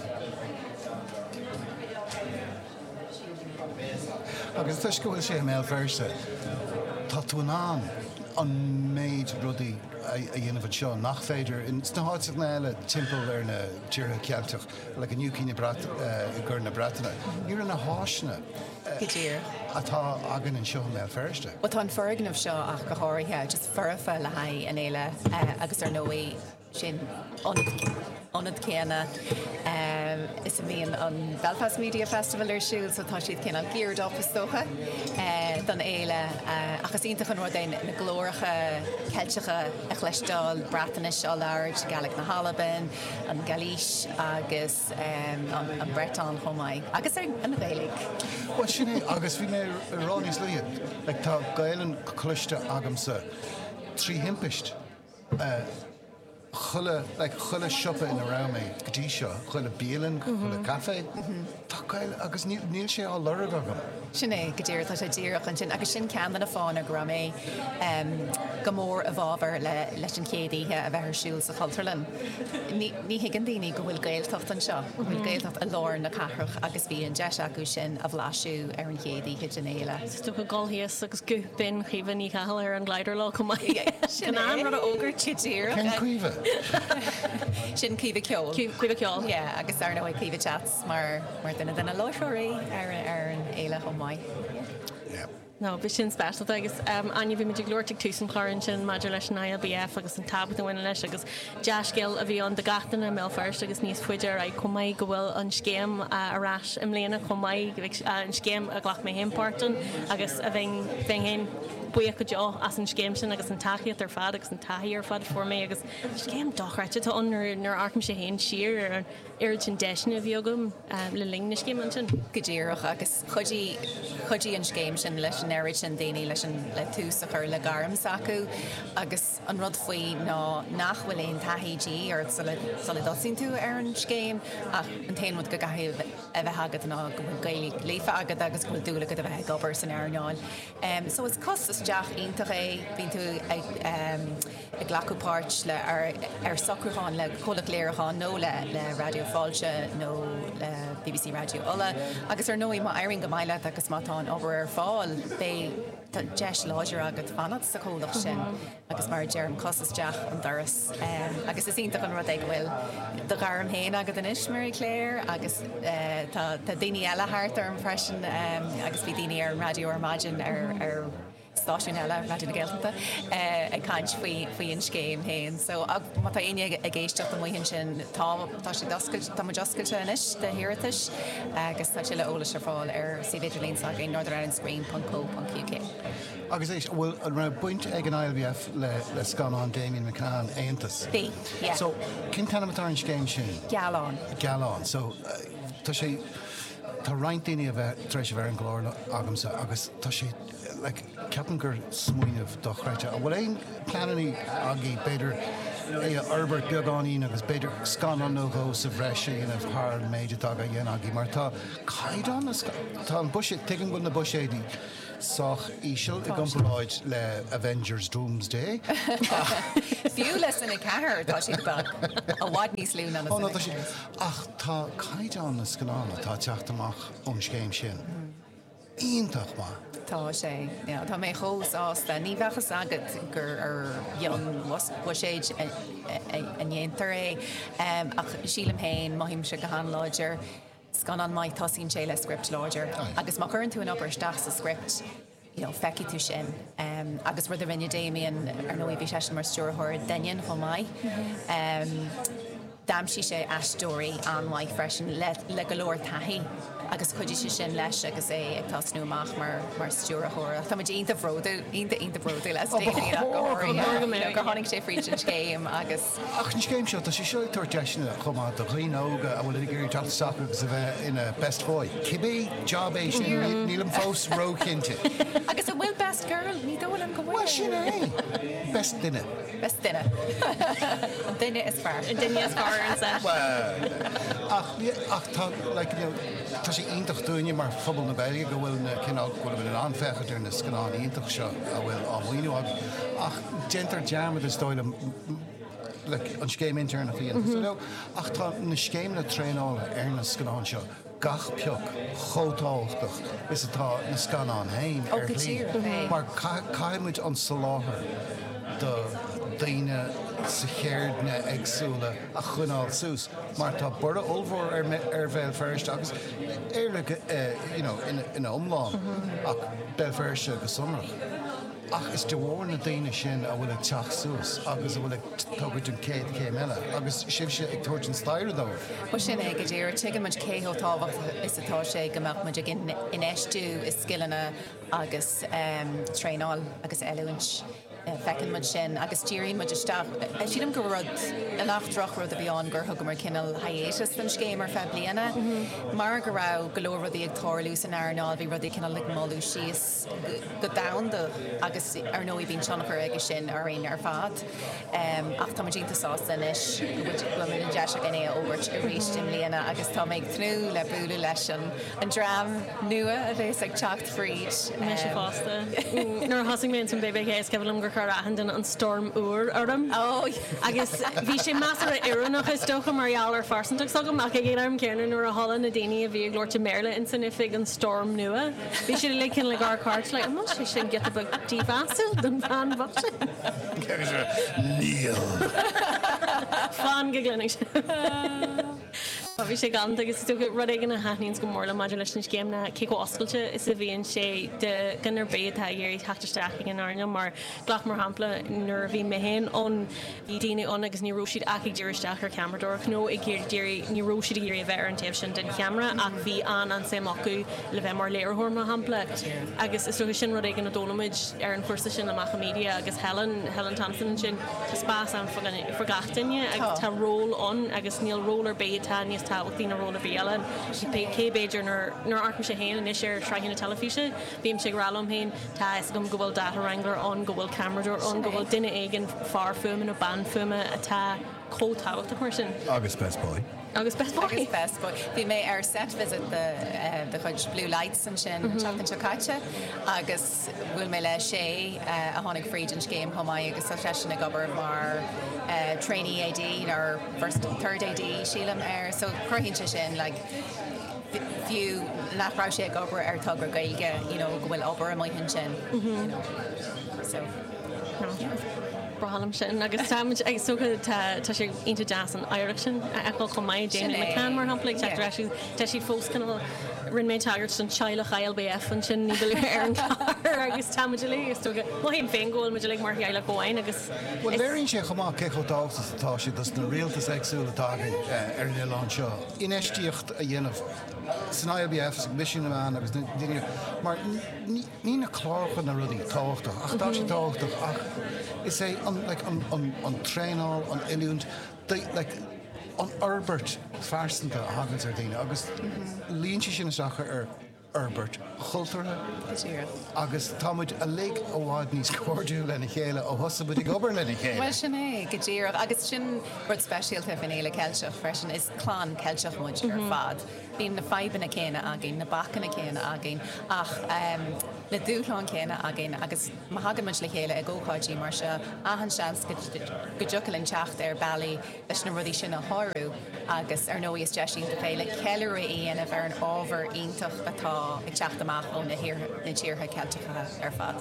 Speaker 2: Agus toisc go bhfuil sé i mBéal Feirste, tá tú in ann an méid rudaí a dhéanamh anseo nach féidir sna háiteanna eile timpeall ar na tíortha Ceilteach, like in UK na Brat, i gCorn na Breataine. Ní raibh na háiseanna atá againn anseo i mBéal Feirste.
Speaker 5: Bhuel, tá an foirgneamh seo ach go háirithe, just foirfe le haghaidh an fhéile agus ar ndóigh, Sin ionad céanna is a mbíonn an Belfast Media Festival ar siúl so tá siad cineál geared up is dócha don fhéile ach is iontach an rud é na glóracha Ceilteacha a chloisteáil, Breatnais á labhairt, Gaelic na hAlban, an Ghailís agus an Breton chomh maith agus an Ghaeilge.
Speaker 2: Bhuel sin é agus bhí mé ag rá níos luaithe, like tá Gaelainn cloiste agamsa trí thimpist. Chuile, like, chuile siopa ina raibh mé go dtí seo, chuile bialann, chuile caife, tá Gaeilge agus níl, níl sé á lorg agam.
Speaker 5: Sin é, go díreach, tá sé díreach ansin agus sin ceann de na fáthanna go raibh mé go mór i bhfabhar le, leis an chéad oíche a bheith ar siúl sa Chultúrlann. Ní, ní thuigeann daoine go bhfuil Gaeltacht anseo, go bhfuil Gaeltacht i lár na cathrach agus bhí an deis acu sin a bhlaiseadh ar an chéad oíche den fhéile.
Speaker 1: Is dócha dul thíos agus guth binn Chaoimhe Ní Chathail ar an Glider Leo chomh maith.
Speaker 5: Sin é.
Speaker 1: An rud a fhógairt.
Speaker 5: Go díreach.
Speaker 2: Cén Caoimhe?
Speaker 5: Sin Caoimhe Ceoil.
Speaker 1: Caoimhe Ceoil.
Speaker 5: Yeah, agus ar ndóigh Caoimhe Chats mar mar duine de na láithreoirí ar ar an fhéile chomh maith.
Speaker 2: Yeah.
Speaker 1: No, bhí sin speisialta agus Áine, bhí muid ag labhairt ag tús an chláir ansin maidir leis an ILBF agus an tábhacht a bhaineann leis agus dea-scéal a bhí ann do gach duine i mBéal Feirste agus níos faide ar aghaidh chomh maith go bhfuil an scéim ar ais i mbliana chomh maith, an scéim a ghlac mé féin páirt ann agus a bheinn bheinn féin buíoch go deo as an scéim sin agus an tacaíocht ar fad agus an taithí ar fad a fuair mé agus scéim dochreidte atá ann nuair nuair a amharcaimse féin siar ar an oiread sin deiseanna a bhí agam le linn na scéime ansin.
Speaker 5: Go díreach agus chuidigh chuidigh an scéim sin leis an oiread sin daoine leis an le tús a chur le gairm s'acu agus an rud faoi ná nach bhfuil aon taithí de dhíth ort sula sula dtosaíonn tú ar an scéim ach an t-aon rud go gcaithfidh a bheith agat ná go bhfuil Gaeilge líofa agat agus go bhfuil dúil agat a bheith ag obair san earnáil. So is cos isteach iontach é, bíonn tú ag ag glacadh páirt le ar ar socrúchán le comhlacht léiriúcháin nó le le Raidió Fáilte nó le BBC Raidió Uladh agus ar ndóigh má éiríonn go maith leat agus má tá an obair ar fáil beidh tá deis láidir agat fanacht sa chomhlacht sin. Agus mar a deirim, cos isteach an doras. Agus is iontach an rud é go bhfuil do ghairm féin agat anois, Marie Claire, agus tá daoine eile thart orm freisin agus bhí daoine ar an raidió ar maidin ar ar. stáisiún eile, Raidió na Gaeltachta, ag caint faoi faoi an scéim féin. So má tá éinne ag éisteacht amuigh ansin, tá tá siad oscailte, tá muid oscailte anois do hiarratais agus tá tuilleadh eolais ar fáil ar suíomh idirlín s'againn, northernirelandscreen.co.uk.
Speaker 2: Agus éist, an bhfuil, an raibh baint ag an ILBF le le scannán Damian McCann, Aontas?
Speaker 5: Bhí, yeah.
Speaker 2: So, cén t-ainm atá ar an scéim sin?
Speaker 5: Gealán.
Speaker 2: Gealán. So, tá sé, tá roinnt daoine a bheith, tar éis a bheith ar an gclár agamsa agus tá sé, like, ceapaim gur smaoineamh dochreidte. An bhfuil aon pleananna agaibh, b'fhéidir, é a fhorbairt beagáinín agus b'fhéidir scannán nó dhó sa bhreis a dhéanamh thar an méid atá á dhéanamh agaibh mar tá caighdeán na tá an buiséad, tuigim go bhfuil na buiséid sách íseal i gcomparáid le Avengers Doomsday
Speaker 5: ach. Fiú le Cine 4 tá siad beag, i bhfad níos lú ná na Cine 4.
Speaker 2: Ach tá caighdeán na scannán atá ag teacht amach ón scéim sin iontach maith.
Speaker 5: Tá sé, yeah. Tá mé chomh sásta. Ní bheadh fhios agat gur ar mhionbhuiséid a ndéantar é ach sílim féin, mothaímse go han-láidir, scannán maith tosaíonn sé le script láidir agus má chuireann tú an obair isteach sa script, you know, feicfidh tú sin. Agus rud a rinne Damien, ar ndóigh bhí seisean mar stiúrthóir Doineann chomh maith. D'aimsigh sé aisteoirí an-mhaith freisin le go leor taithí agus chuidigh sé sin leis agus é ag tosnú amach mar mar stiúrthóir. Ach tá muid iontach bródúil, iontach iontach bródúil as Damien ach go háirithe, gur tháinig sé fríd an scéim agus.
Speaker 2: Ach an scéim seo, tá sé seo ag tabhairt deiseanna chomh maith do dhaoine óga a bhfuil ag iarraidh teacht isteach agus a bheith ina best boy. Cibé job é sin, nílim fós róchinnte.
Speaker 5: Agus an bhfuil best girl? Ní dóigh liom go bhfuil.
Speaker 2: Bhuel, sin é! Best duine.
Speaker 5: Best duine. An duine is fearr.
Speaker 1: An duine is fearr ar an set.
Speaker 2: Bhuel, ach, ach tá, like, you know, tá sé iontach dúinne mar phobal na Gaeilge go bhfuil na cineál, go bhfuil in ann féachaint ar na scannáin iontach seo a bhfuil á maoiniú agaibh. Ach déantar dearmad is dóigh liom, like, an scéim intéirneach a dhéanamh. So, no, ach tá na scéimeanna traenála ar na scannáin seo gach pioc chomh tábhachtach is atá na scannáin féin ar shlí mar caithfidh muid an soláthar do daoine sa cheirdeanna éagsúla a choinneáil suas mar tá borradh ollmhór ar Bhéal Feirste agus Éire you know ina iomlán ach Béal Feirste go sonrach. Ach is de bharr na daoine sin a bhfuil ag teacht suas agus a bhfuil ag tógaint an chéad chéim eile agus sibhse ag tabhairt an staighre dóibh.
Speaker 5: Bhuel sin é go díreach. Tuigeann muid cé chomh tábhachtach is atá sé go mbeadh muid ag infheistiú i scileanna agus traenáil agus oiliúint. Feiceann muid sin agus díríonn muid isteach. Sílim gur rud, nach drochrud a bhí ann gur thugamar cineál hiatus don scéim ar feadh bliana. Mar go raibh go leor rudaí ag tarlú san earnáil, bhí rudaí cineál ag moilliú síos go domhanda agus ar ndóigh bíonn tionchar aige sin orainn ar fad. Ach tá muid iontach sásta anois go bhfuil an deis againn é a fhógairt arís i mbliana agus tá mé ag tnúth le bualadh leis an dream nua a bhéas ag teacht fríd.
Speaker 1: Mise fosta. Nuair a thosaigh mé ins an BBK is cuimhin liom gur chuir achan duine an Storm Úr orm. Agus bhí sé measartha oiriúnach is dócha mar gheall ar phearsantacht s'agam ach ag an am céanna nuair a chuala na daoine a bhí ag labhairt i mBéarla ins an oifig an Storm Nua bhí siad uilig cineál ag amharc thart like an bhfuil sé sin giota beag dímheasúil don bhean bhocht sin?
Speaker 2: Níl.
Speaker 1: Fan go gcluinfidh sibh. Bhí sé galánta agus is dócha rud éigin a thaitníonns go mór liom maidir leis an scéim ná cé chomh oscailte is a bhíonn sé do dhuine ar bith atá ag iarraidh teacht isteach ag an earnáil mar glac mar shampla nuair a bhí mé féin ann bhí daoine ann agus ní raibh siad ach ag díriú isteach ar cheamaradóireacht nó ag iarraidh ní raibh siad ag iarraidh a bheith ar an taobh sin den cheamara ach bhí an-an-suim acu le bheith mar léiritheoir mar shampla agus is dócha sin rud éigin a d'fhoghlaim muid ar an chúrsa sin amach i media agus Helen, Helen Thompson ansin. Tá spás ann fá gach duine agus tá ról ann agus níl ról ar bith atá níos tábhachtaí ná ról ar bith eile. Cé b'fhéidir nuair a amharcaimse féin anois ar shraitheanna teilifíse, bímse ag rá liom féin, tá a fhios agam go bhfuil data wrangler ann, go bhfuil ceamaradóir ann, go bhfuil duine éigin, fear fuaime nó bean fuaime atá chomh tábhachtach mar sin.
Speaker 2: Agus best boy.
Speaker 1: Agus best boy.
Speaker 5: Agus best boy. Bhí mé ar set visit de chuid Blue Lights ansin an tseachtain seo caite agus bhuail mé le Shay a tháinig fríd an scéim chomh maith agus tá seisean ag obair mar trainee AD or first, third AD sílim air so cruthaíonn sé sin like fiú nach raibh sé ag obair ar togra Gaeilge you know go bhfuil obair amuigh ansin you know so
Speaker 1: yeah. Breá liom sin agus táimid ag is dócha tá tá sé iontach deas an oidhreacht sin a fheiceáil chomh maith, Damien McCann mar shampla ag teacht ar ais agus tá siad fós cineál Rinne mé tagairt don teaghlach ILBF ansin ní ba luaithe ar an chlár agus tá muid uilig, is dócha, mothaím féin go bhfuil muid uilig mar theaghlach amháin agus
Speaker 2: Bhuel, léiríonn sé chomh maith cé chomh tábhachtach is atá sé dos na rialtais éagsúla atá againn ar an oileán seo infheistíocht a dhéanamh san ILBF, sa gCoimisiún na Meán agus na daoine, mar ní na cláracha na rudaí tábhachtach ach tá sé tábhachtach ach is é an, like, an, an, an traenáil, an oiliúint, like, an fhorbairt phearsanta a thaganns ar daoine agus luíonn sé sin isteach ar fhorbairt chultúrtha agus tá muid uilig i bhfad níos cairdiúla lena chéile ó thosaigh muid ag obair lena chéile.
Speaker 5: Bhuel sin é, go díreach. Agus sin rud speisialta faoin Fhéile Ceilteach freisin, is clann Ceilteach muid ar fad. Bíonn na fadhbanna céanna againn, na bacanna céanna againn ach na dúshláin céanna againn agus má thagann muid le chéile ag ócáidí mar seo, achan seans go dtiocfaidh linn teacht ar bealaí leis na rudaí sin a shárú agus ar ndóigh is deis iontach é le ceiliúradh a dhéanamh ar an ábhar iontach atá ag teacht amach ó na tíortha Ceilteacha ar fad.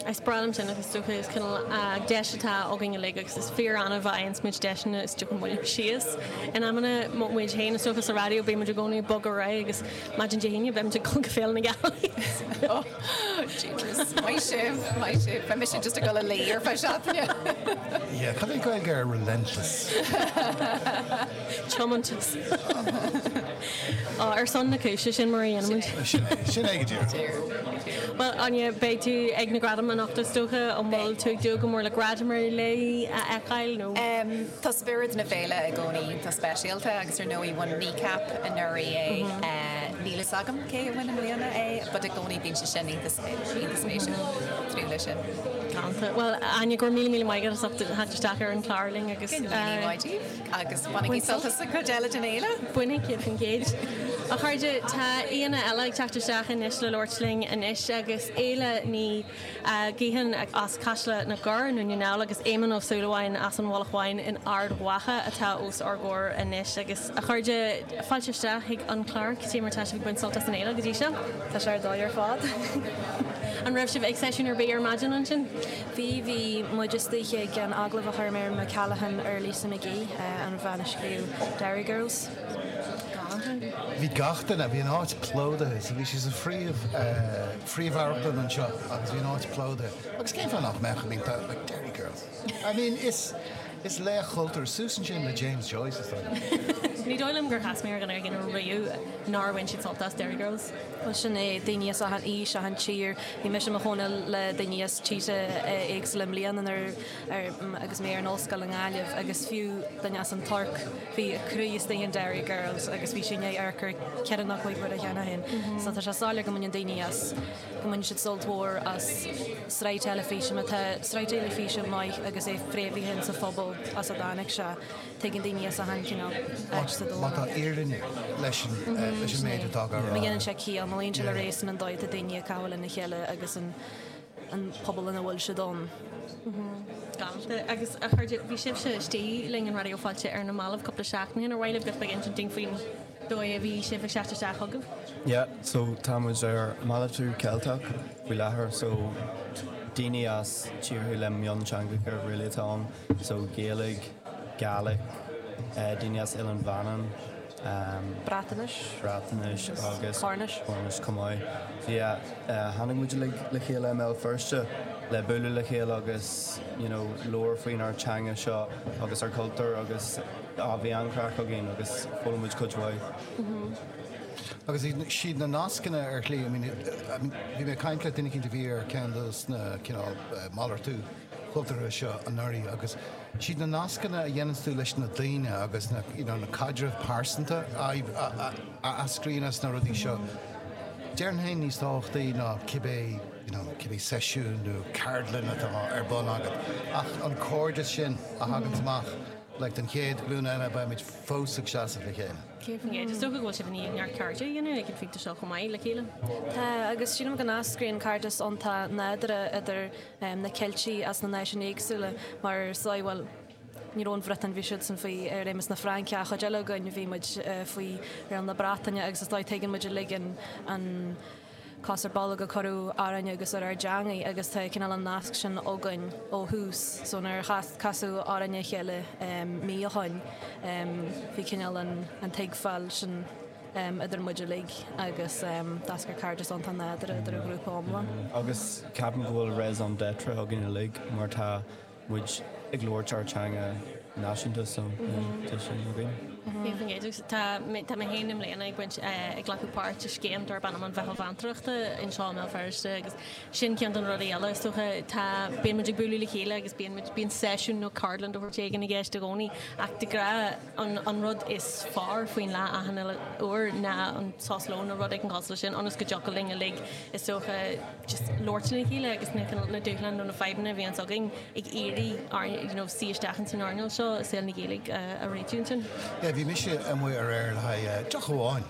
Speaker 1: Is breá liom sin agus is dócha is cineál deis atá againn uilig agus is fíor annamh a fhaigheanns muid deiseanna is dócha moilliú síos in amanna muid féin is dócha sa raidió bíonn muid i gcónaí ag bogadh ar aghaidh agus maidin Dé hAoine beidh muid ag dul go Féile na Gealaí.
Speaker 5: Oh jeepers. Maith sibh, maith sibh. Beidh mise just ag dul a luí ar feadh seachtaine.
Speaker 2: Yeah, cad é Gaeilge ar relentless?
Speaker 1: Tiomantas. Ar son na cúise, sin mar a dhéanaimid.
Speaker 2: Sin é, sin é go díreach.
Speaker 1: Bhuel, Áine, beidh tú ag na gradaim anocht is dócha. An bhfuil tú ag dúil go mór le gradam ar leith a fheiceáil nó?
Speaker 5: Tá spiorad na féile i gcónaí iontach speisialta agus ar ndóigh bhain Kneecap anuraidh é. Níl fhios agam cé a bhain i mbliana é but i gcónaí bíonn sé sin iontach spéisiúil. Tnúth leis sin.
Speaker 1: Galánta. Bhuel, Áine, go raibh míle míle maith agat as ucht theacht isteach ar an chlár linn agus.
Speaker 5: Go raibh míle maith agat agus bainigí sult as an gcuid eile den fhéile.
Speaker 1: Bainfidh, 100%. A chairde, tá aíonna eile ag teacht isteach anois le labhairt linn anois agus Éile Ní. Ghaoithin as Caiseal na gCorr i nDún na nGall agus Éamonn Ó Súilleabháin as an Mhullach Bháin in Ard Mhacha atá os ár gcomhair anois. Agus, a chairde, fáilte isteach chuig an chlár. Cad é mar atá sibh ag baint sult as an fhéile go dtí seo?
Speaker 4: Tá sé ar dóigh ar fad.
Speaker 1: An raibh sibh ag seisiún ar bith ar maidin ansin?
Speaker 4: Bhí, bhí muid istigh ag an agallamh a chuir Miriam O'Callaghan ar Lisa McGee, an bhean a scríobh Derry Girls.
Speaker 2: Bhí gach duine, bhí an áit plódaithe, so bhí sé sa phríomh, phríomhamharclann anseo agus bhí an áit plódaithe. Agus cén fáth nach mbeadh, I mean, tá, like, Derry Girls. I mean, is, is laoch cultúir, suas ansin le James Joyce, is dóigh
Speaker 1: liom. Ní dóigh liom gur chas mé ar dhuine éigin riamh nár bhain siad sult as Derry Girls.
Speaker 4: Bhuel, sin é, daoine as achan aois, achan tír. Bhí mise i mo chónaí le daoine as tíortha éagsúla i mbliana nuair, ar, agus mé ar an ollscoil i nGaillimh agus fiú duine as an Tuirc, bhí a croí istigh in Derry Girls agus bhí sé i ndiaidh amharc air ceithre nó cúig huaire cheana féin. So tá sé soiléir go mbaineann daoine as, go mbaineann siad sult mhór as sraith teilifíse, má tá sraith teilifíse maith agus é fréamhaithe insa phobal as a dtáinig sé, tuigeann daoine as achan cineál áit sa
Speaker 2: domhan. Má tá fírinne leis an, leis an méid atá á rá.
Speaker 4: Má dhéanann sé ciall, má luíonn sé le réasún an dóigh atá daoine ag caitheamh lena chéile agus an. an pobal ina bhfuil siad ann.
Speaker 1: Galánta. Agus a chairde, bhí sibhse istigh linn in Raidió Fáilte ar na mallaibh cúpla seachtain ó shin. Ar mhaith libh giota beag a insint dúinn faoin dóigh a bhí sibh ag teacht isteach chugaibh?
Speaker 6: Yeah, so tá muid ar Malartú Ceilteach faoi láthair, so daoine as tíortha le mionteangacha really atá ann, so Gaeilge, Gaelic, daoine as Oileán Mhanann,
Speaker 4: Breatnais.
Speaker 6: Breatnais agus
Speaker 4: Cornais.
Speaker 6: Cornais chomh maith. So yeah, tháinig muid uilig le chéile i mBéal Feirste le bualadh le chéile agus you know labhairt faoinár teanga seo agus ár cultúr agus ah bhí an-chraic againn agus foghlaim muid cuid mhaith.
Speaker 2: Agus siad na nascanna ar shlí, I mean, bhí mé ag caint le duine eicínt a bhí ar ceann dos na cineál malartú cultúrtha seo anuraidh agus siad na nascanna a dhéananns tú leis na daoine agus na you know na caidrimh pearsanta a a eascraíonn as na rudaí seo, déarfainn féin níos tábhachtaí ná cibé you know cibé seisiún nó ceardlann atá ar bun agat ach an cairdeas sin a thaganns amach like don chéad ghlúin eile beimid fós ag seasamh le chéile.
Speaker 1: 100%. Is dócha go bhfuil sibh i ndiaidh neart cairde a dhéanamh ag an phointe seo chomh maith le chéile.
Speaker 4: Tá, agus sílim go n-eascraíonn cairdeas iontach nádúrtha idir na Ceiltigh as na náisiúin éagsúla mar is dóigh, bhuel, ní raibh an Bhriotáin, bhí siadsan faoi réimeas na Fraince ach chuid eile againn bhí muid faoi riail na Breataine agus is dóigh tuigeann muid uilig an an cos ar bolg a cuireadh orainn agus ar ár dteangaidh agus tá cineál an nasc sin againn ó thús so nuair a casadh orainn a chéile mí ó shoin bhí cineál an an tuigbheáil sin.
Speaker 7: idir muid uilig agus d'eascair cairdeas iontach nádúrtha idir an ghrúpa iomlán.
Speaker 6: Agus ceapaim go bhfuil raison d'être againn uilig mar tá muid ag labhairt ár teanga náisiúnta so tá sin againn.
Speaker 1: 100%. Tá mé tá mé féin i mbliana ag baint ag glacadh páirt i scéim darb ainm an Mheitheal Mheantóireachta anseo i mBéal Feirste agus sin ceann de na rudaí eile is dócha. Tá bíonn muid ag bualadh le chéile agus bíonn muid bíonn seisiún nó ceardlann de shórt éigin i gceist i gcónaí ach de ghnáth An rud is fearr faoin lá achan uile uair ná an sos lóin nó rud éigin cosúil leis sin ionas go dtiocfadh linn uilig is dócha just labhairt lena chéile agus na cineál na dúshláin nó na fadhbanna a bhíonns againn ag iarraidh ár you know suí isteach ins an earnáil seo i saol na Gaeilge a réitiú ansin.
Speaker 2: Yeah, bhí mise amuigh aréir le haghaidh deoch amháin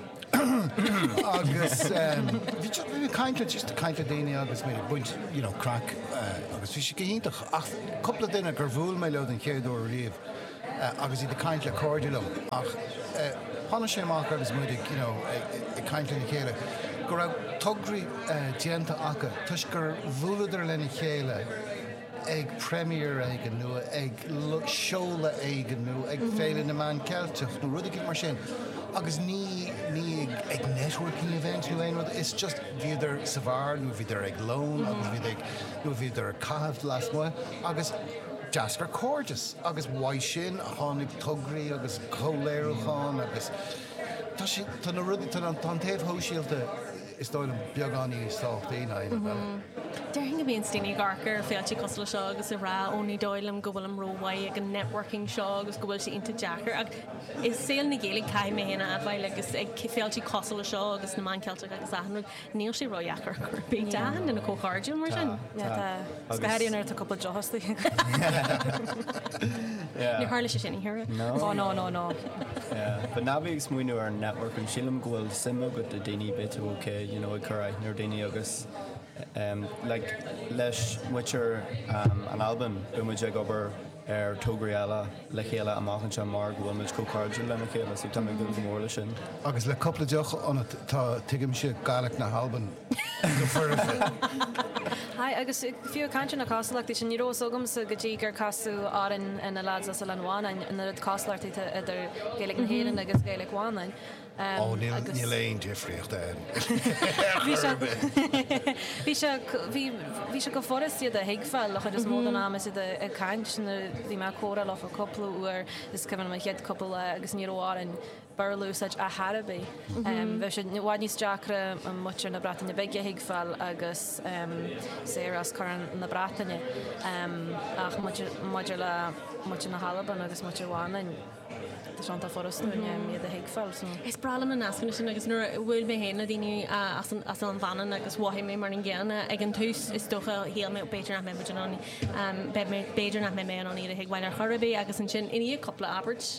Speaker 2: agus bhí just bhí mé ag caint le just ag caint le daoine agus mé ag baint you know craic agus bhí sé go hiontach ach cúpla duine gur bhuail mé leo den chéad uair riamh agus iad ag caint le cairde liom ach tháinig sé amach agus muid ag you know ag caint lena chéile go raibh tograí déanta acu toisc gur bhuaileadar lena chéile ag premiere éigin nó ag seoladh éigin nó ag Féile na Meán Ceilteach nó rud éigin mar sin agus ní ní ag ag networking event nó aon rud it's just bhíodar sa bheár nó bhíodar ag lón agus bhíodar ag nó bhíodar ag caitheamh lasmuigh agus D'eascair cairdeas agus uaidh sin tháinig tograí agus comhléiriúcháin agus tá sé, tá na rudaí, tá an taobh shóisialta is dóigh liom beagán níos tábhachtaí ná aon rud eile.
Speaker 1: Déarfainn go mbíonn daoine ag amharc ar féilte cosúil le seo agus ag rá ó ní dóigh liom go bhfuilim rómhaith ag an networking seo agus go bhfuil sé iontach deacair ach i saol na Gaeilge caithfidh mé féin a admháil agus ag féilte cosúil le seo agus na Meán Ceilteach agus achan rud Níl sé ródheacair ar chor ar bith. Tá achan duine chomh cairdiúil mar sin.
Speaker 7: Tá. Go háirithe nuair atá cúpla deoch istigh.
Speaker 1: Níor tharla sé sin oíche aréir.
Speaker 6: No.
Speaker 7: Oh no, no, no.
Speaker 6: Yeah. But ná bí ag smaoineamh ar networking, sílim go bhfuil suim agat i daoine beidh tú okay, you know, ag cur aithne ar daoine agus um, like, leis muintir um, an Albain, beidh muid ag obair ar tograí eile le chéile amach anseo mar go bhfuil muid chomh cairdiúil lena chéile so tá mé ag dúil go mór leis sin.
Speaker 2: Agus le cúpla deoch ionat tá, tuigimse Gaelic na hAlban go foirfe.
Speaker 7: Aye, agus fiú ag caint ar na cosúlachtaí sin, ní raibh fhios agamsa go dtí gur casadh orainn na lads as Oileán Mhanainn an oiread cosúlachtaí atá idir Gaeilge na hÉireann agus Gaeilge Mhanainn.
Speaker 2: Ó, níl, níl aon difríocht ann.
Speaker 7: Bhí sé, bhí sé, bhí, bhí sé go furast iad a thuigbheáil an chuid is mó den am is iad ag caint nuair bhí mé ag comhrá leofa cúpla uair is cuimhin liom an chéad cúpla lá agus ní raibh orainn Béarla a úsáid ar chor ar bith. Bheadh sé i bhfad níos deacra muintir na Breataine Bige a thuigbheáil agus Sarah as Corn na Breataine ach maidir le muintir na hAlban agus muintir Mhanainn, Tá sé iontach furast dúinn iad a thuigbheáil so.
Speaker 1: Is breá liom na nascanna sin agus nuair a bhuail mé féin le daoine as an as Oileán Mhanann agus mhothaigh mé mar an gcéanna ag an tús is dócha shíl mé b'fhéidir nach mbeidh muid in ann beidh mé b'fhéidir nach mbeidh mé in ann iad a thuigbheáil ar chor ar bith agus ansin i ndiaidh cúpla abairt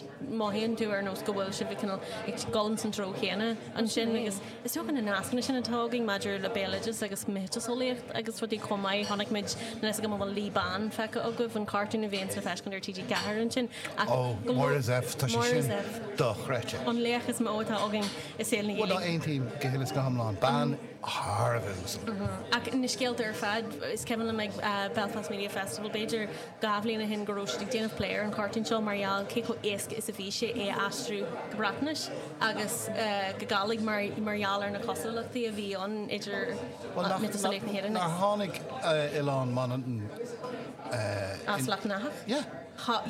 Speaker 1: mothaíonn tú ar nós go bhfuil sibh ag cineál ag dul ins an treo chéanna ansin agus Is dócha na nascanna sin atá againn maidir le béaloideas agus miotaseolaíocht agus rudaí chomh maith. Chonaic muid, níl a fhios agam an bhfuil Lí Ban feicthe agaibh, an cartún a bhíonn le feiscint ar TG4 ansin.
Speaker 2: Ach Ó, go Máire Zepf, tá sé sin dochreidte.
Speaker 1: An laoch is mó atá againn i saol na
Speaker 2: Bhuel,
Speaker 1: Gaeilge.
Speaker 2: aontaím go huile is go hiomlán. Bean thar a bheith uasal.
Speaker 1: Ach na scéalta ar fad, is cuimhin liom ag Belfast Media Festival, b'fhéidir, 2 bhliain ó shin go raibh siad ag déanamh plé ar an chartún seo mar gheall cé chomh éasca is a bhí sé é a aistriú go Breatnais agus go Gàidhlig mar mar gheall ar na cosúlachtaí a bhí ann idir miotaseolaíocht na hÉireann
Speaker 2: Nár
Speaker 1: agus.
Speaker 2: tháinig Oileán Mhanann
Speaker 1: As Leath nAthach?
Speaker 2: Yeah.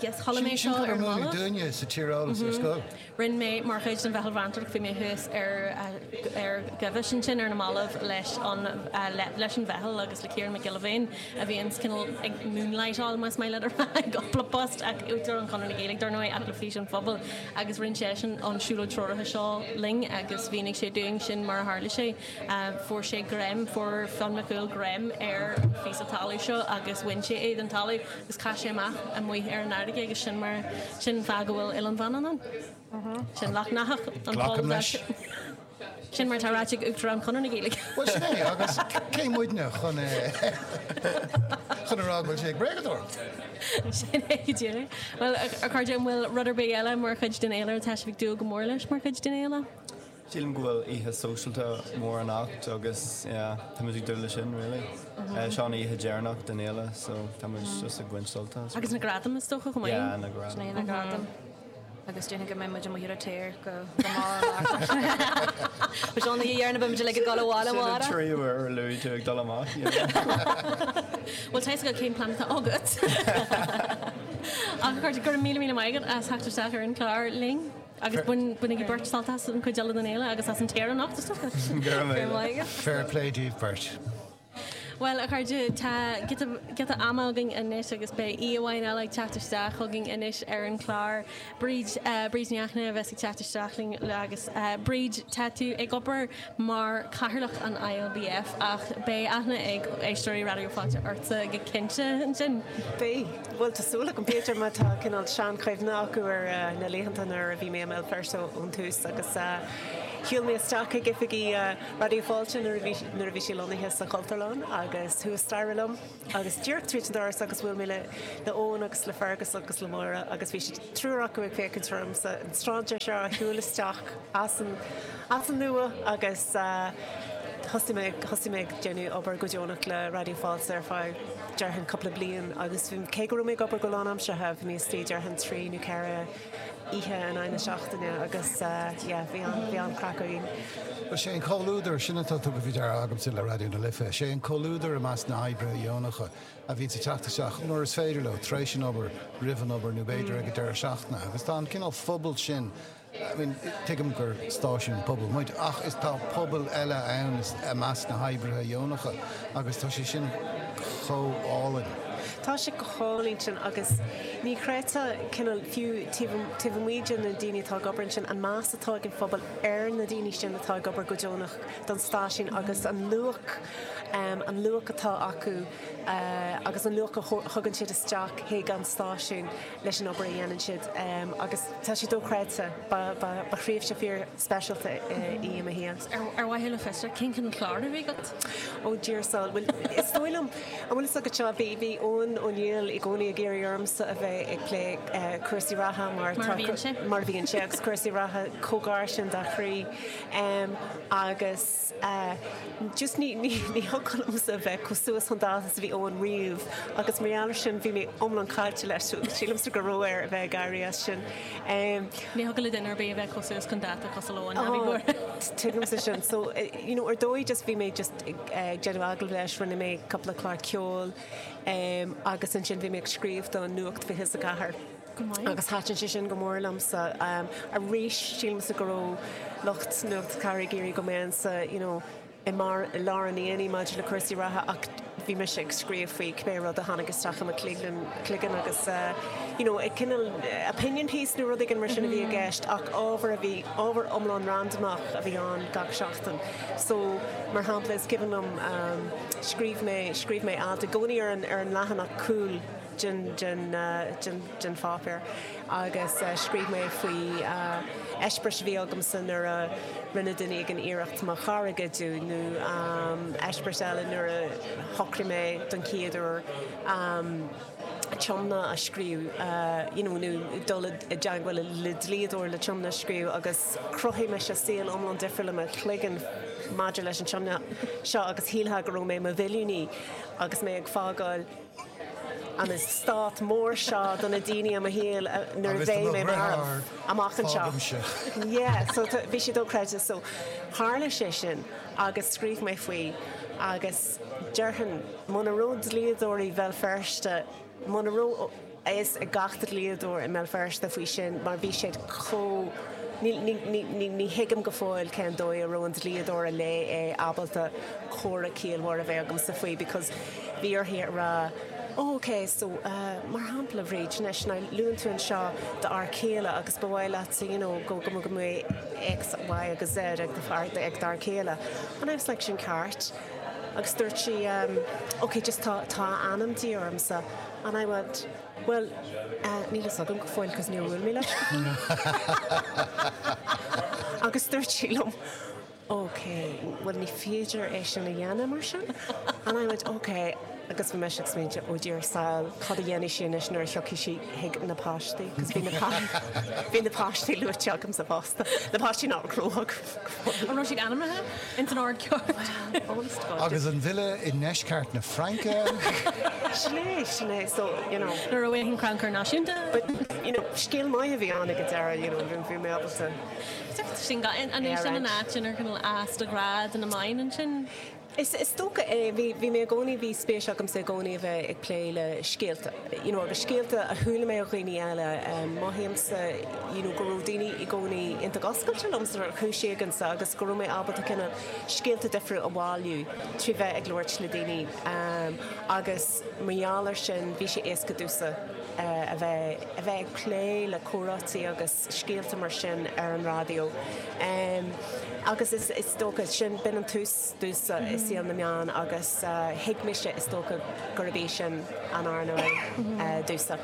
Speaker 1: Yes, chuala mé
Speaker 2: Sin
Speaker 1: seo
Speaker 2: cad
Speaker 1: ar
Speaker 2: ar
Speaker 1: na
Speaker 2: múineadh
Speaker 1: mallaibh.
Speaker 2: dúinne sa tíreolas ar scoil.
Speaker 1: Rinne mé, mar chuid den Mheitheal Mheantóireachta, bhí mé thuas ar ar Ghaibhis ansin ar na mallaibh leis an leis an mheitheal agus le Ciarán Mac Giolla Bhéin a bhíonns cineál ag moonlightáil más maith leat a rá i gcúpla post ach Uachtarán Chonradh na Gaeilge dar ndóigh ach le Fís an Phobail agus rinne seisean an siúlóid treoraithe seo linn agus mhínigh sé dúinn sin mar a tharla sé. Fuair sé greim, fuair Fionn Mac Cumhaill greim ar an phíosa talaimh seo agus bhain sé é den talamh agus chaith sé amach amuigh ar an fharraige agus sin mar, sin an fáth go bhfuil Oileán Mhanann ann. Sin Leacht nEathach, an
Speaker 2: Glacaim
Speaker 1: poll
Speaker 2: leis.
Speaker 1: Sin mar atá ráite ag Uachtarán Chonradh na Gaeilge.
Speaker 2: Bhuel sin é, agus cé muidne chun chun a rá go bhfuil sé ag bréagadóireacht?
Speaker 1: Sin é go díreach. Bhuel, a chairde, an bhfuil rud ar bith eile mar chuid den fhéile atá sibh ag dúil go mór leis mar chuid den fhéile?
Speaker 6: Sílim go bhfuil oíche sóisialta mór anocht agus yeah, tá muid ag dúil leis sin really. Seo an oíche deireanach den fhéile so tá muid just ag baint sult as.
Speaker 1: Agus na gradaim is dócha chomh maith?
Speaker 6: Yeah, na gradaim.
Speaker 7: Sin é na gradaim. Agus déarfainn go mbeidh muid amuigh ar an tír go mall amárach. Bhuel seo an oíche dheireanach beidh muid uilig ag dul abhaile
Speaker 6: Sin an
Speaker 7: amárach.
Speaker 6: tríú uair a luaigh tú ag dul amach, you know.
Speaker 1: Bhuel tá fhios agat cén plean atá agat. Ach a chairde, go raibh míle míle maith agat as theacht isteach ar an chlár linn. Agus bainigí beirt sult as an chuid eile den fhéile agus as an tír anocht is dócha.
Speaker 6: Go raibh
Speaker 7: Go raibh maith agat.
Speaker 2: Fair play daoibh beirt.
Speaker 1: Bhuel, a chairde, tá giota, giota ama againn anois agus beidh aoi amháin eile ag teacht isteach chugainn anois ar an chlár. Bríd, Bríd Ní Fhachtna a bheas ag teacht isteach linn agus Bríd, tá tú ag obair mar Chathaoirleach an ILBF ach beidh aithne ag éisteoirí Raidió Fáilte ortsa go cinnte ansin.
Speaker 8: Beidh. Bhuel, tá súil agam, b'fhéidir, má tá cineál seanchuimhne acu ar na laethanta nuair a bhí mé i mBéal Feirste ón tús agus shiúil mé isteach ag oifigí Raidió Fáilte nuair a bhí nuair a bhí sí lonnaithe sa Chultúrlann agus thuas staighre liom agus díreach tríd an doras agus bhuail mé le le Eoin agus le Fergus agus le Máire agus bhí siad triúr acu ag féachaint ormsa, an strainséir seo a shiúil isteach as an as an nua agus thosaigh mé thosaigh mé ag déanamh obair go deonach le Raidió Fáilte ar feadh déarfainn cúpla bliain agus cé go raibh mé ag obair go lánaimseartha bhí mé istigh déarfainn trí nó ceithre oíche in aghaidh na seachtaine agus yeah bhí an bhí an-chraic againn.
Speaker 2: Bhuel, sé an comhluadar, sin atá tugtha faoi deara agamsa le Raidió na Life, sé an comhluadar i measc na hoibrithe dheonacha a bhíonns ag teacht isteach nuair is féidir leo, tar éis an obair, roimh an obair nó b'fhéidir ag an deireadh seachtaine agus tá an cineál phobail sin, I mean, tuigim gur stáisiún pobail muid ach is tá pobal eile ann i measc na hoibrithe dheonacha agus tá sé sin chomh álainn.
Speaker 8: Tá sé go hálainn sin agus ní chreidfeá cineál fiú taobh taobh amuigh de na daoine atá ag obair ansin an meas atá ag an phobal ar na daoine sin atá ag obair go deonach don stáisiún agus an luach an luach atá acu agus an luach a thugann siad isteach chuig an stáisiún leis an obair a dhéanann siad agus tá sé dochreidte. Ba ba thréimhse fíor speisialta í i mo shaol.
Speaker 1: Ar mhaithe le fiosracht, cén cineál clár a bhí agat?
Speaker 8: Ó dear soul, bhuel is dóigh liom, an bhfuil fhios agat seo, bhí bhí Eoin Ó Néill i gcónaí ag iarraidh ormsa a bheith ag plé cúrsaí reatha mar
Speaker 1: Mar a bhíonn sé.
Speaker 8: Mar a bhíonn sé agus cúrsaí reatha chomh gar sin dá chroí agus just ní ní ní thiocfadh liomsa a bheith chomh suas chun dáta is a bhí Eoin riamh agus mar gheall ar sin bhí mé iomlán caillte leis so sílimse go raibh air a bheith ag éirí as sin.
Speaker 1: Ní thiocfadh le duine ar bith a bheith chomh suas chun dáta cosúil le Eoin, ná bí buartha.
Speaker 8: Tuigimse sin. So you know ar dóigh just bhí mé just ag déanamh agallamh leis, rinne mé cúpla clár ceoil agus ansin bhí mé ag scríobh do Nuacht 24.
Speaker 1: Go maith.
Speaker 8: Agus thaitin sé sin go mór liomsa. Arís, sílimse go raibh lucht Nuacht 4 ag iarraidh go mbeinnse, you know, i mbarr, i lár an aonaigh maidir le cúrsaí reatha ach bhí mise ag scríobh faoi cibé rud a tháinig isteach i mo chloigeann, cloigeann agus you know, cineál opinion piece nó rud éigin mar sin a bhí i gceist ach ábhar a bhí, ábhar iomlán randamach a bhí ann gach seachtain. So, mar shampla, is cuimhin liom, scríobh mé, scríobh mé alt i gcónaí ar an, ar an leathanach cúil, den, den, den, den pháipéar agus scríobh mé faoi eispéireas a bhí agamsa nuair a rinne duine éigin iarracht mo charr a ghoideadh nó eispéireas eile nuair a shocraigh mé don chéad uair tiomna a scríobh you know nó dul i dteagmháil le dlíodóir le tiomna a scríobh agus chruthaigh mise saol iomlán difriúil i mo chloigeann maidir leis an tiomna seo agus shílfeá go raibh mé i mo mhilliúnaí agus mé ag fágáil an eastát mór seo do na daoine i mo shaol nuair a
Speaker 2: Agus do
Speaker 8: bheidh
Speaker 2: mo
Speaker 8: mé marbh
Speaker 2: dheartháir,
Speaker 8: amach anseo.
Speaker 2: fágaimse.
Speaker 8: Yeah, so tá, bhí sé dochreidte. So tharla sé sin agus scríobh mé faoi agus déarfainn muna raibh dlíodóirí Bhéal Feirste, muna raibh a fhios ag gach dlíodóir i mBéal Feirste faoi sin mar bhí siad chomh, ní, ní, ní, ní, ní thuigim go fóill cén dóigh a raibh an dlíodóir a léigh é ábalta comhrá ciallmhar a bheith agamsa faoi because bhí uirthi a rá oh ok so eh mar shampla Bhríd anois now luann tú anseo d'fhear céile agus ba mhaith leatsa you know go go go mbeadh X, Y agus Z ag do fear ag d'fhear céile and I was like sin ceart agus dúirt sí um ok just tá tá a ainm de dhíth ormsa and I went bhuel eh níl fhios agam go fóill cos níor bhuail mé leis agus dúirt sí liom Ok, bhuel ní féidir é sin a dhéanamh mar sin. And I went, ok, agus bhí mise ag smaointiú, oh dear soul, cad a dhéanfaidh sí anois nuair a thiocfaidh sí chuig na páistí, cos bhí na bhí na páistí luaite agamsa fosta, na páistí nach raibh agam go
Speaker 1: fóill. An raibh siad ainmnithe ins an ord ceart?
Speaker 8: Well, honest to God.
Speaker 2: Agus an villa i ndeisceart na Fraince?
Speaker 8: Sin é, sin é, so, you know.
Speaker 1: Ní raibh aon chrannchur náisiúnta.
Speaker 8: But, you know, scéal maith a bhí ann ag an deireadh, you know, bhí mé ábalta.
Speaker 1: Sin an é sin an áit inar cineál fhás do ghrá do na meáin ansin?
Speaker 8: Is dócha é. Bhí, bhí mé i gcónaí, bhí spéis agamsa i gcónaí a bheith ag plé le scéalta, you know, agus scéalta a chuala mé ó dhaoine eile. Mothaímse, you know, go raibh daoine i gcónaí iontach oscailte liomsa ar chúis éigin agus go raibh mé ábalta cineál scéalta difriúla a bhailiú trí bheith ag labhairt le daoine agus mar gheall air sin bhí sé éasca domhsa a bheith, a bheith ag plé le comhráití agus scéalta mar sin ar an raidió. Agus is dócha, sin, b'in an tús domhsa i saol na meán agus thuig mise, is dócha, gurb í sin an earnáil domhsa.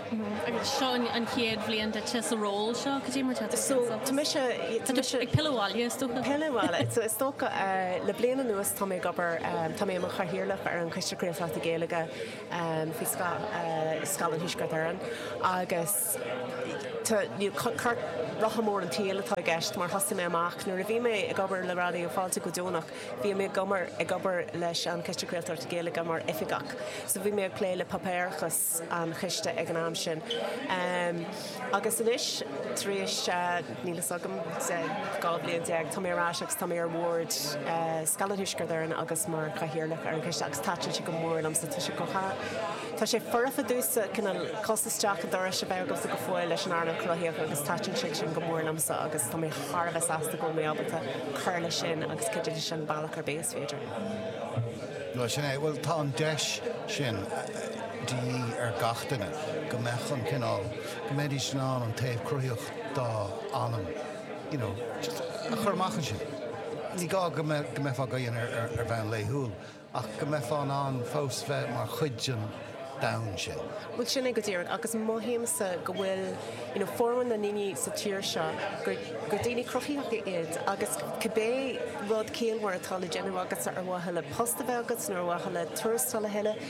Speaker 1: Agus seo an chéad bhliain duitse sa ról seo, cad é mar atá tú
Speaker 8: So, tá mise, tá mise.
Speaker 1: Ag pilleadh abhaile, is dócha.
Speaker 8: Pilleadh abhaile. So, is dócha, le bliain anuas tá mé ag obair, tá mé i mo chathaoirleach ar an Choiste Craoltóireachta Gaeilge faoi scáth Scáileán Thuaisceart Éireann agus tá, you know, rotha mór an tsaoil atá i gceist mar thosaigh mé amach nuair a bhí mé ag obair le Raidió Fáilte go deonach, bhí mé ag obair ag obair leis an Choiste Craoltóireachta Gaeilge mar oifigeach so bhí mé ag plé le páipéarachas an choiste ag an am sin. Agus anois tar éis, níl fhios agam, 12 bhliain, tá mé ar ais agus tá mé ar bhord Scáileán Thuaisceart Éireann agus mar chathaoirleach ar an choiste agus thaitin sé go mór liomsa. Tá sé go Tá sé foirfe domhsa cineál cos isteach an dorais a bheith agamsa go fóill leis an earnáil chruthaitheach agus thaitin sé sin go mór liomsa agus tá mé thar a bheith sásta go bhfuil mé ábalta cur leis sin agus cuidiú leis sin bealach ar bith is féidir.
Speaker 2: Bhuel, sin é. Bhuel, tá an deis sin de dhíth ar gach duine, go mbeadh an cineál, go mbeidís in ann an taobh cruthaitheach dá anam, you know, just a chur amach ansin. Ní gá go mbeifeá á dhéanamh ar bhonn laethúil ach go mbeifeá in ann fós bheith mar chuid den domhan sin.
Speaker 8: Bhuel, sin é go díreach agus mothaímse go bhfuil, you know, formhór na ndaoine sa tír seo gur, gur daoine cruthaitheacha iad agus cibé rud ciallmhar atá le déanamh agatsa ar mhaithe le post a bheith agat nó ar mhaithe le tuarastal a thuilleamh,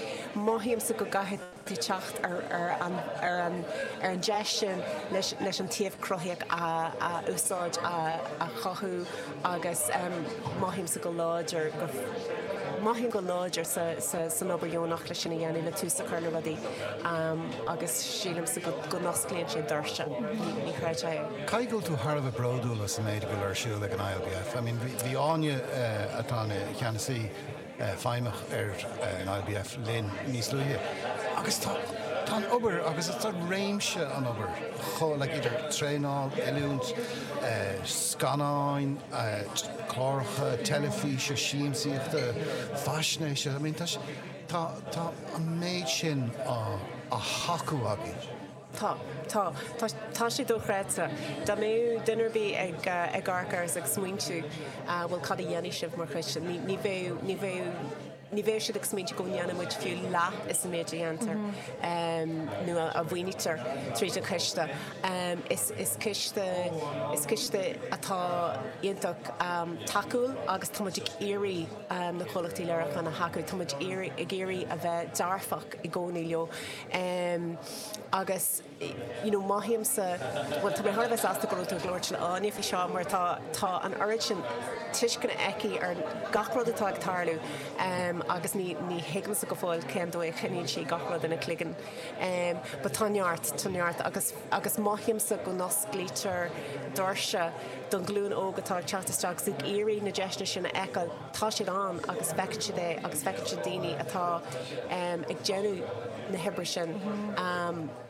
Speaker 8: mothaímse go gcaithfidh tú teacht ar, ar an, ar an, ar an deis sin leis, leis an taobh cruthaitheach a, a úsáid, a, a chothú agus mothaímse go láidir go, mothaím go láidir sa, sa, san obair dheonach leis sin a dhéanamh, le tús a chur le rudaí agus sílimse go, go n-osclaíonn sé doirse, ní, ní chreidfeá é.
Speaker 2: Caithfidh go bhfuil tú thar a bheith bródúil as an méid a bhfuil ar siúl ag an ILBF. I mean, bhí, bhí Áine, atá ina cheannasaí, feidhmeach ar an ILBF linn níos luaithe agus tá tá an obair agus tá réimse an obair chomh like idir traenáil, oiliúint, scannáin, cláracha teilifíse, siamsaíochta, faisnéise, I mean tá tá tá an méid sin á á thacú agaibh.
Speaker 8: Tá. Tá. Tá, tá sé dochreidte. Dá mbeadh duine ar bith ag, ag amharc air is ag smaointiú, bhuel cad a dhéanfaidh sibh mar choiste, ní, ní bheadh, ní bheadh, ní bheadh siad ag smaointiú go ndéanann muid fiú leath is an méid a dhéantar nó a, a mhaoinítear tríd an choiste. Is, is coiste, is coiste atá iontach tacúil agus tá muid ag iarraidh na comhlachtaí léiriúcháin a thacú, tá muid ag iarraidh a bheith dearfach i gcónaí leo. Agus you know mothaímse, bhuel tá mé thar a bheith sásta go raibh tú ag labhairt le Áine faoi seo mar tá tá an oiread sin tuisceana aici ar gach rud atá ag tarlú agus ní ní thuigimse go fóill cén dóigh a choinníonn sí gach rud ina cloigeann. But tá neart, tá neart agus agus mothaímse go n-osclaítear doirse don ghlúin óg atá ag teacht isteach agus ag iarraidh na deiseanna sin a fheiceáil. Tá siad ann agus feiceann siad é agus feiceann siad daoine atá ag déanamh na hoibre sin,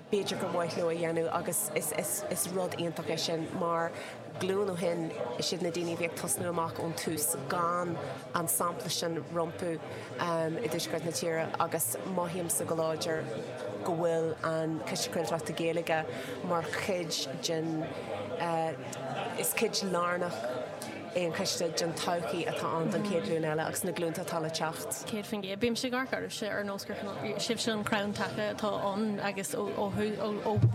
Speaker 8: b'fhéidir gur mhaith leo a dhéanamh agus is rud iontach é sin mar glúin ó shin is iad na daoine a bhí ag tosnú amach ón tús gan an sampla sin rompu i dtuaisceart na tíre agus mothaímse go láidir go bhfuil an Coiste Craoltóireachta Gaeilge mar chuid den, is cuid lárnach é an coiste den todhchaí atá ann don chéad ghlúin eile agus na glúnta atá le teacht.
Speaker 1: 100%. Bímse ag amharc oraibhse ar nós gur sibhse an crann taca atá ann agus ó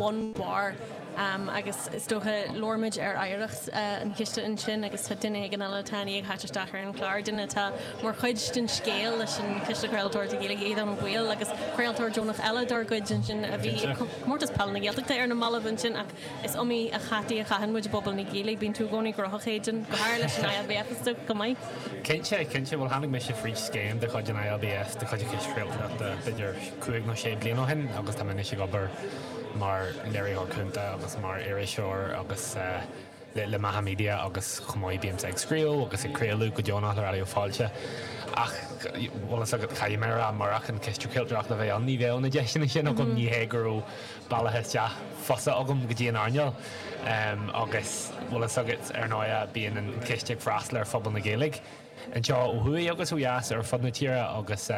Speaker 1: bhun barr. Agus is dócha, labhair muid ar oidhreacht an chiste ansin agus tá duine éigin eile atá i ndiaidh theacht isteach ar an chlár, duine atá mar chuid den scéal leis an Chiste Craoltóireachta Gaeilge, Aodhán Ó Baoill, agus craoltóir deonach eile dár gcuid ansin a bhí ag Comórtas Peile na Gaeltachta ar na mallaibh ansin ach is iomaí a chataí a chaitheann muid i bpobal na Gaeilge. Bíonn tú i gcónaí gnóthach, Aidan, go háirithe leis an ILBF is dócha, chomh maith.
Speaker 9: Cinnte, cinnte. Bhuel, tháinig mise fríd scéim de chuid an ILBF, de chuid an Chiste Craoltóireachta, b'fhéidir cúig nó sé bliana ó shin agus tá mé anois ag obair mar léiritheoir cúnta agus mar iriseoir agus le Macha Media agus chomh maith bímse ag scríobh agus ag craoladh go deonach le Raidió Fáilte. Ach, bhfuil fhios agat, caithfidh mé a rá, murach an Ciste Craoltóireachta a bheith ann ní bheadh na deiseanna sin agam, ní hé go raibh bealach isteach fusa agam go dtí an earnáil. Agus, bhfuil fhios agat, ar ndóigh bíonn an Ciste ag freastal ar phobal na Gaeilge anseo ó thuaidh agus ó dheas ar fud na tíre agus,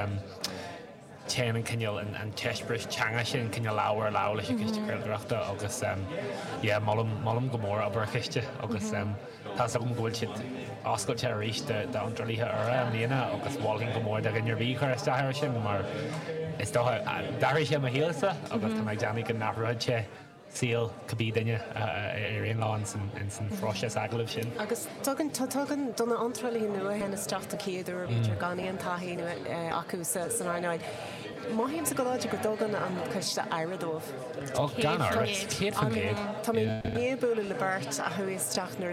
Speaker 9: téann an cineál, an t-eispéireas teanga sin cineál lámh ar lámh leis an Chiste Craoltóireachta agus yeah molaim, molaim go mór obair an Chiste agus tá's agam go bhfuil siad oscailte arís d'iontrálaithe úra i mbliana agus mholfainn go mór do dhuine ar bith cur isteach air sin mar is dócha, d'athraigh sé mo shaolsa agus tá mé ag déanamh go n-athróidh sé saol cibé duine a éiríonn leo ins an phróiseas agallaimh sin.
Speaker 8: Agus tugann, tugann do na hiontrálaithe nua a théann isteach don chéad uair, b'fhéidir, gan aon taithí acu san earnáil, mothaímse go láidir go dtugann an coiste aire dóibh.
Speaker 9: Ó, gan amhras, 100%.
Speaker 8: Tá mé i ndiaidh bualadh le beirt a chuaigh isteach nuair a.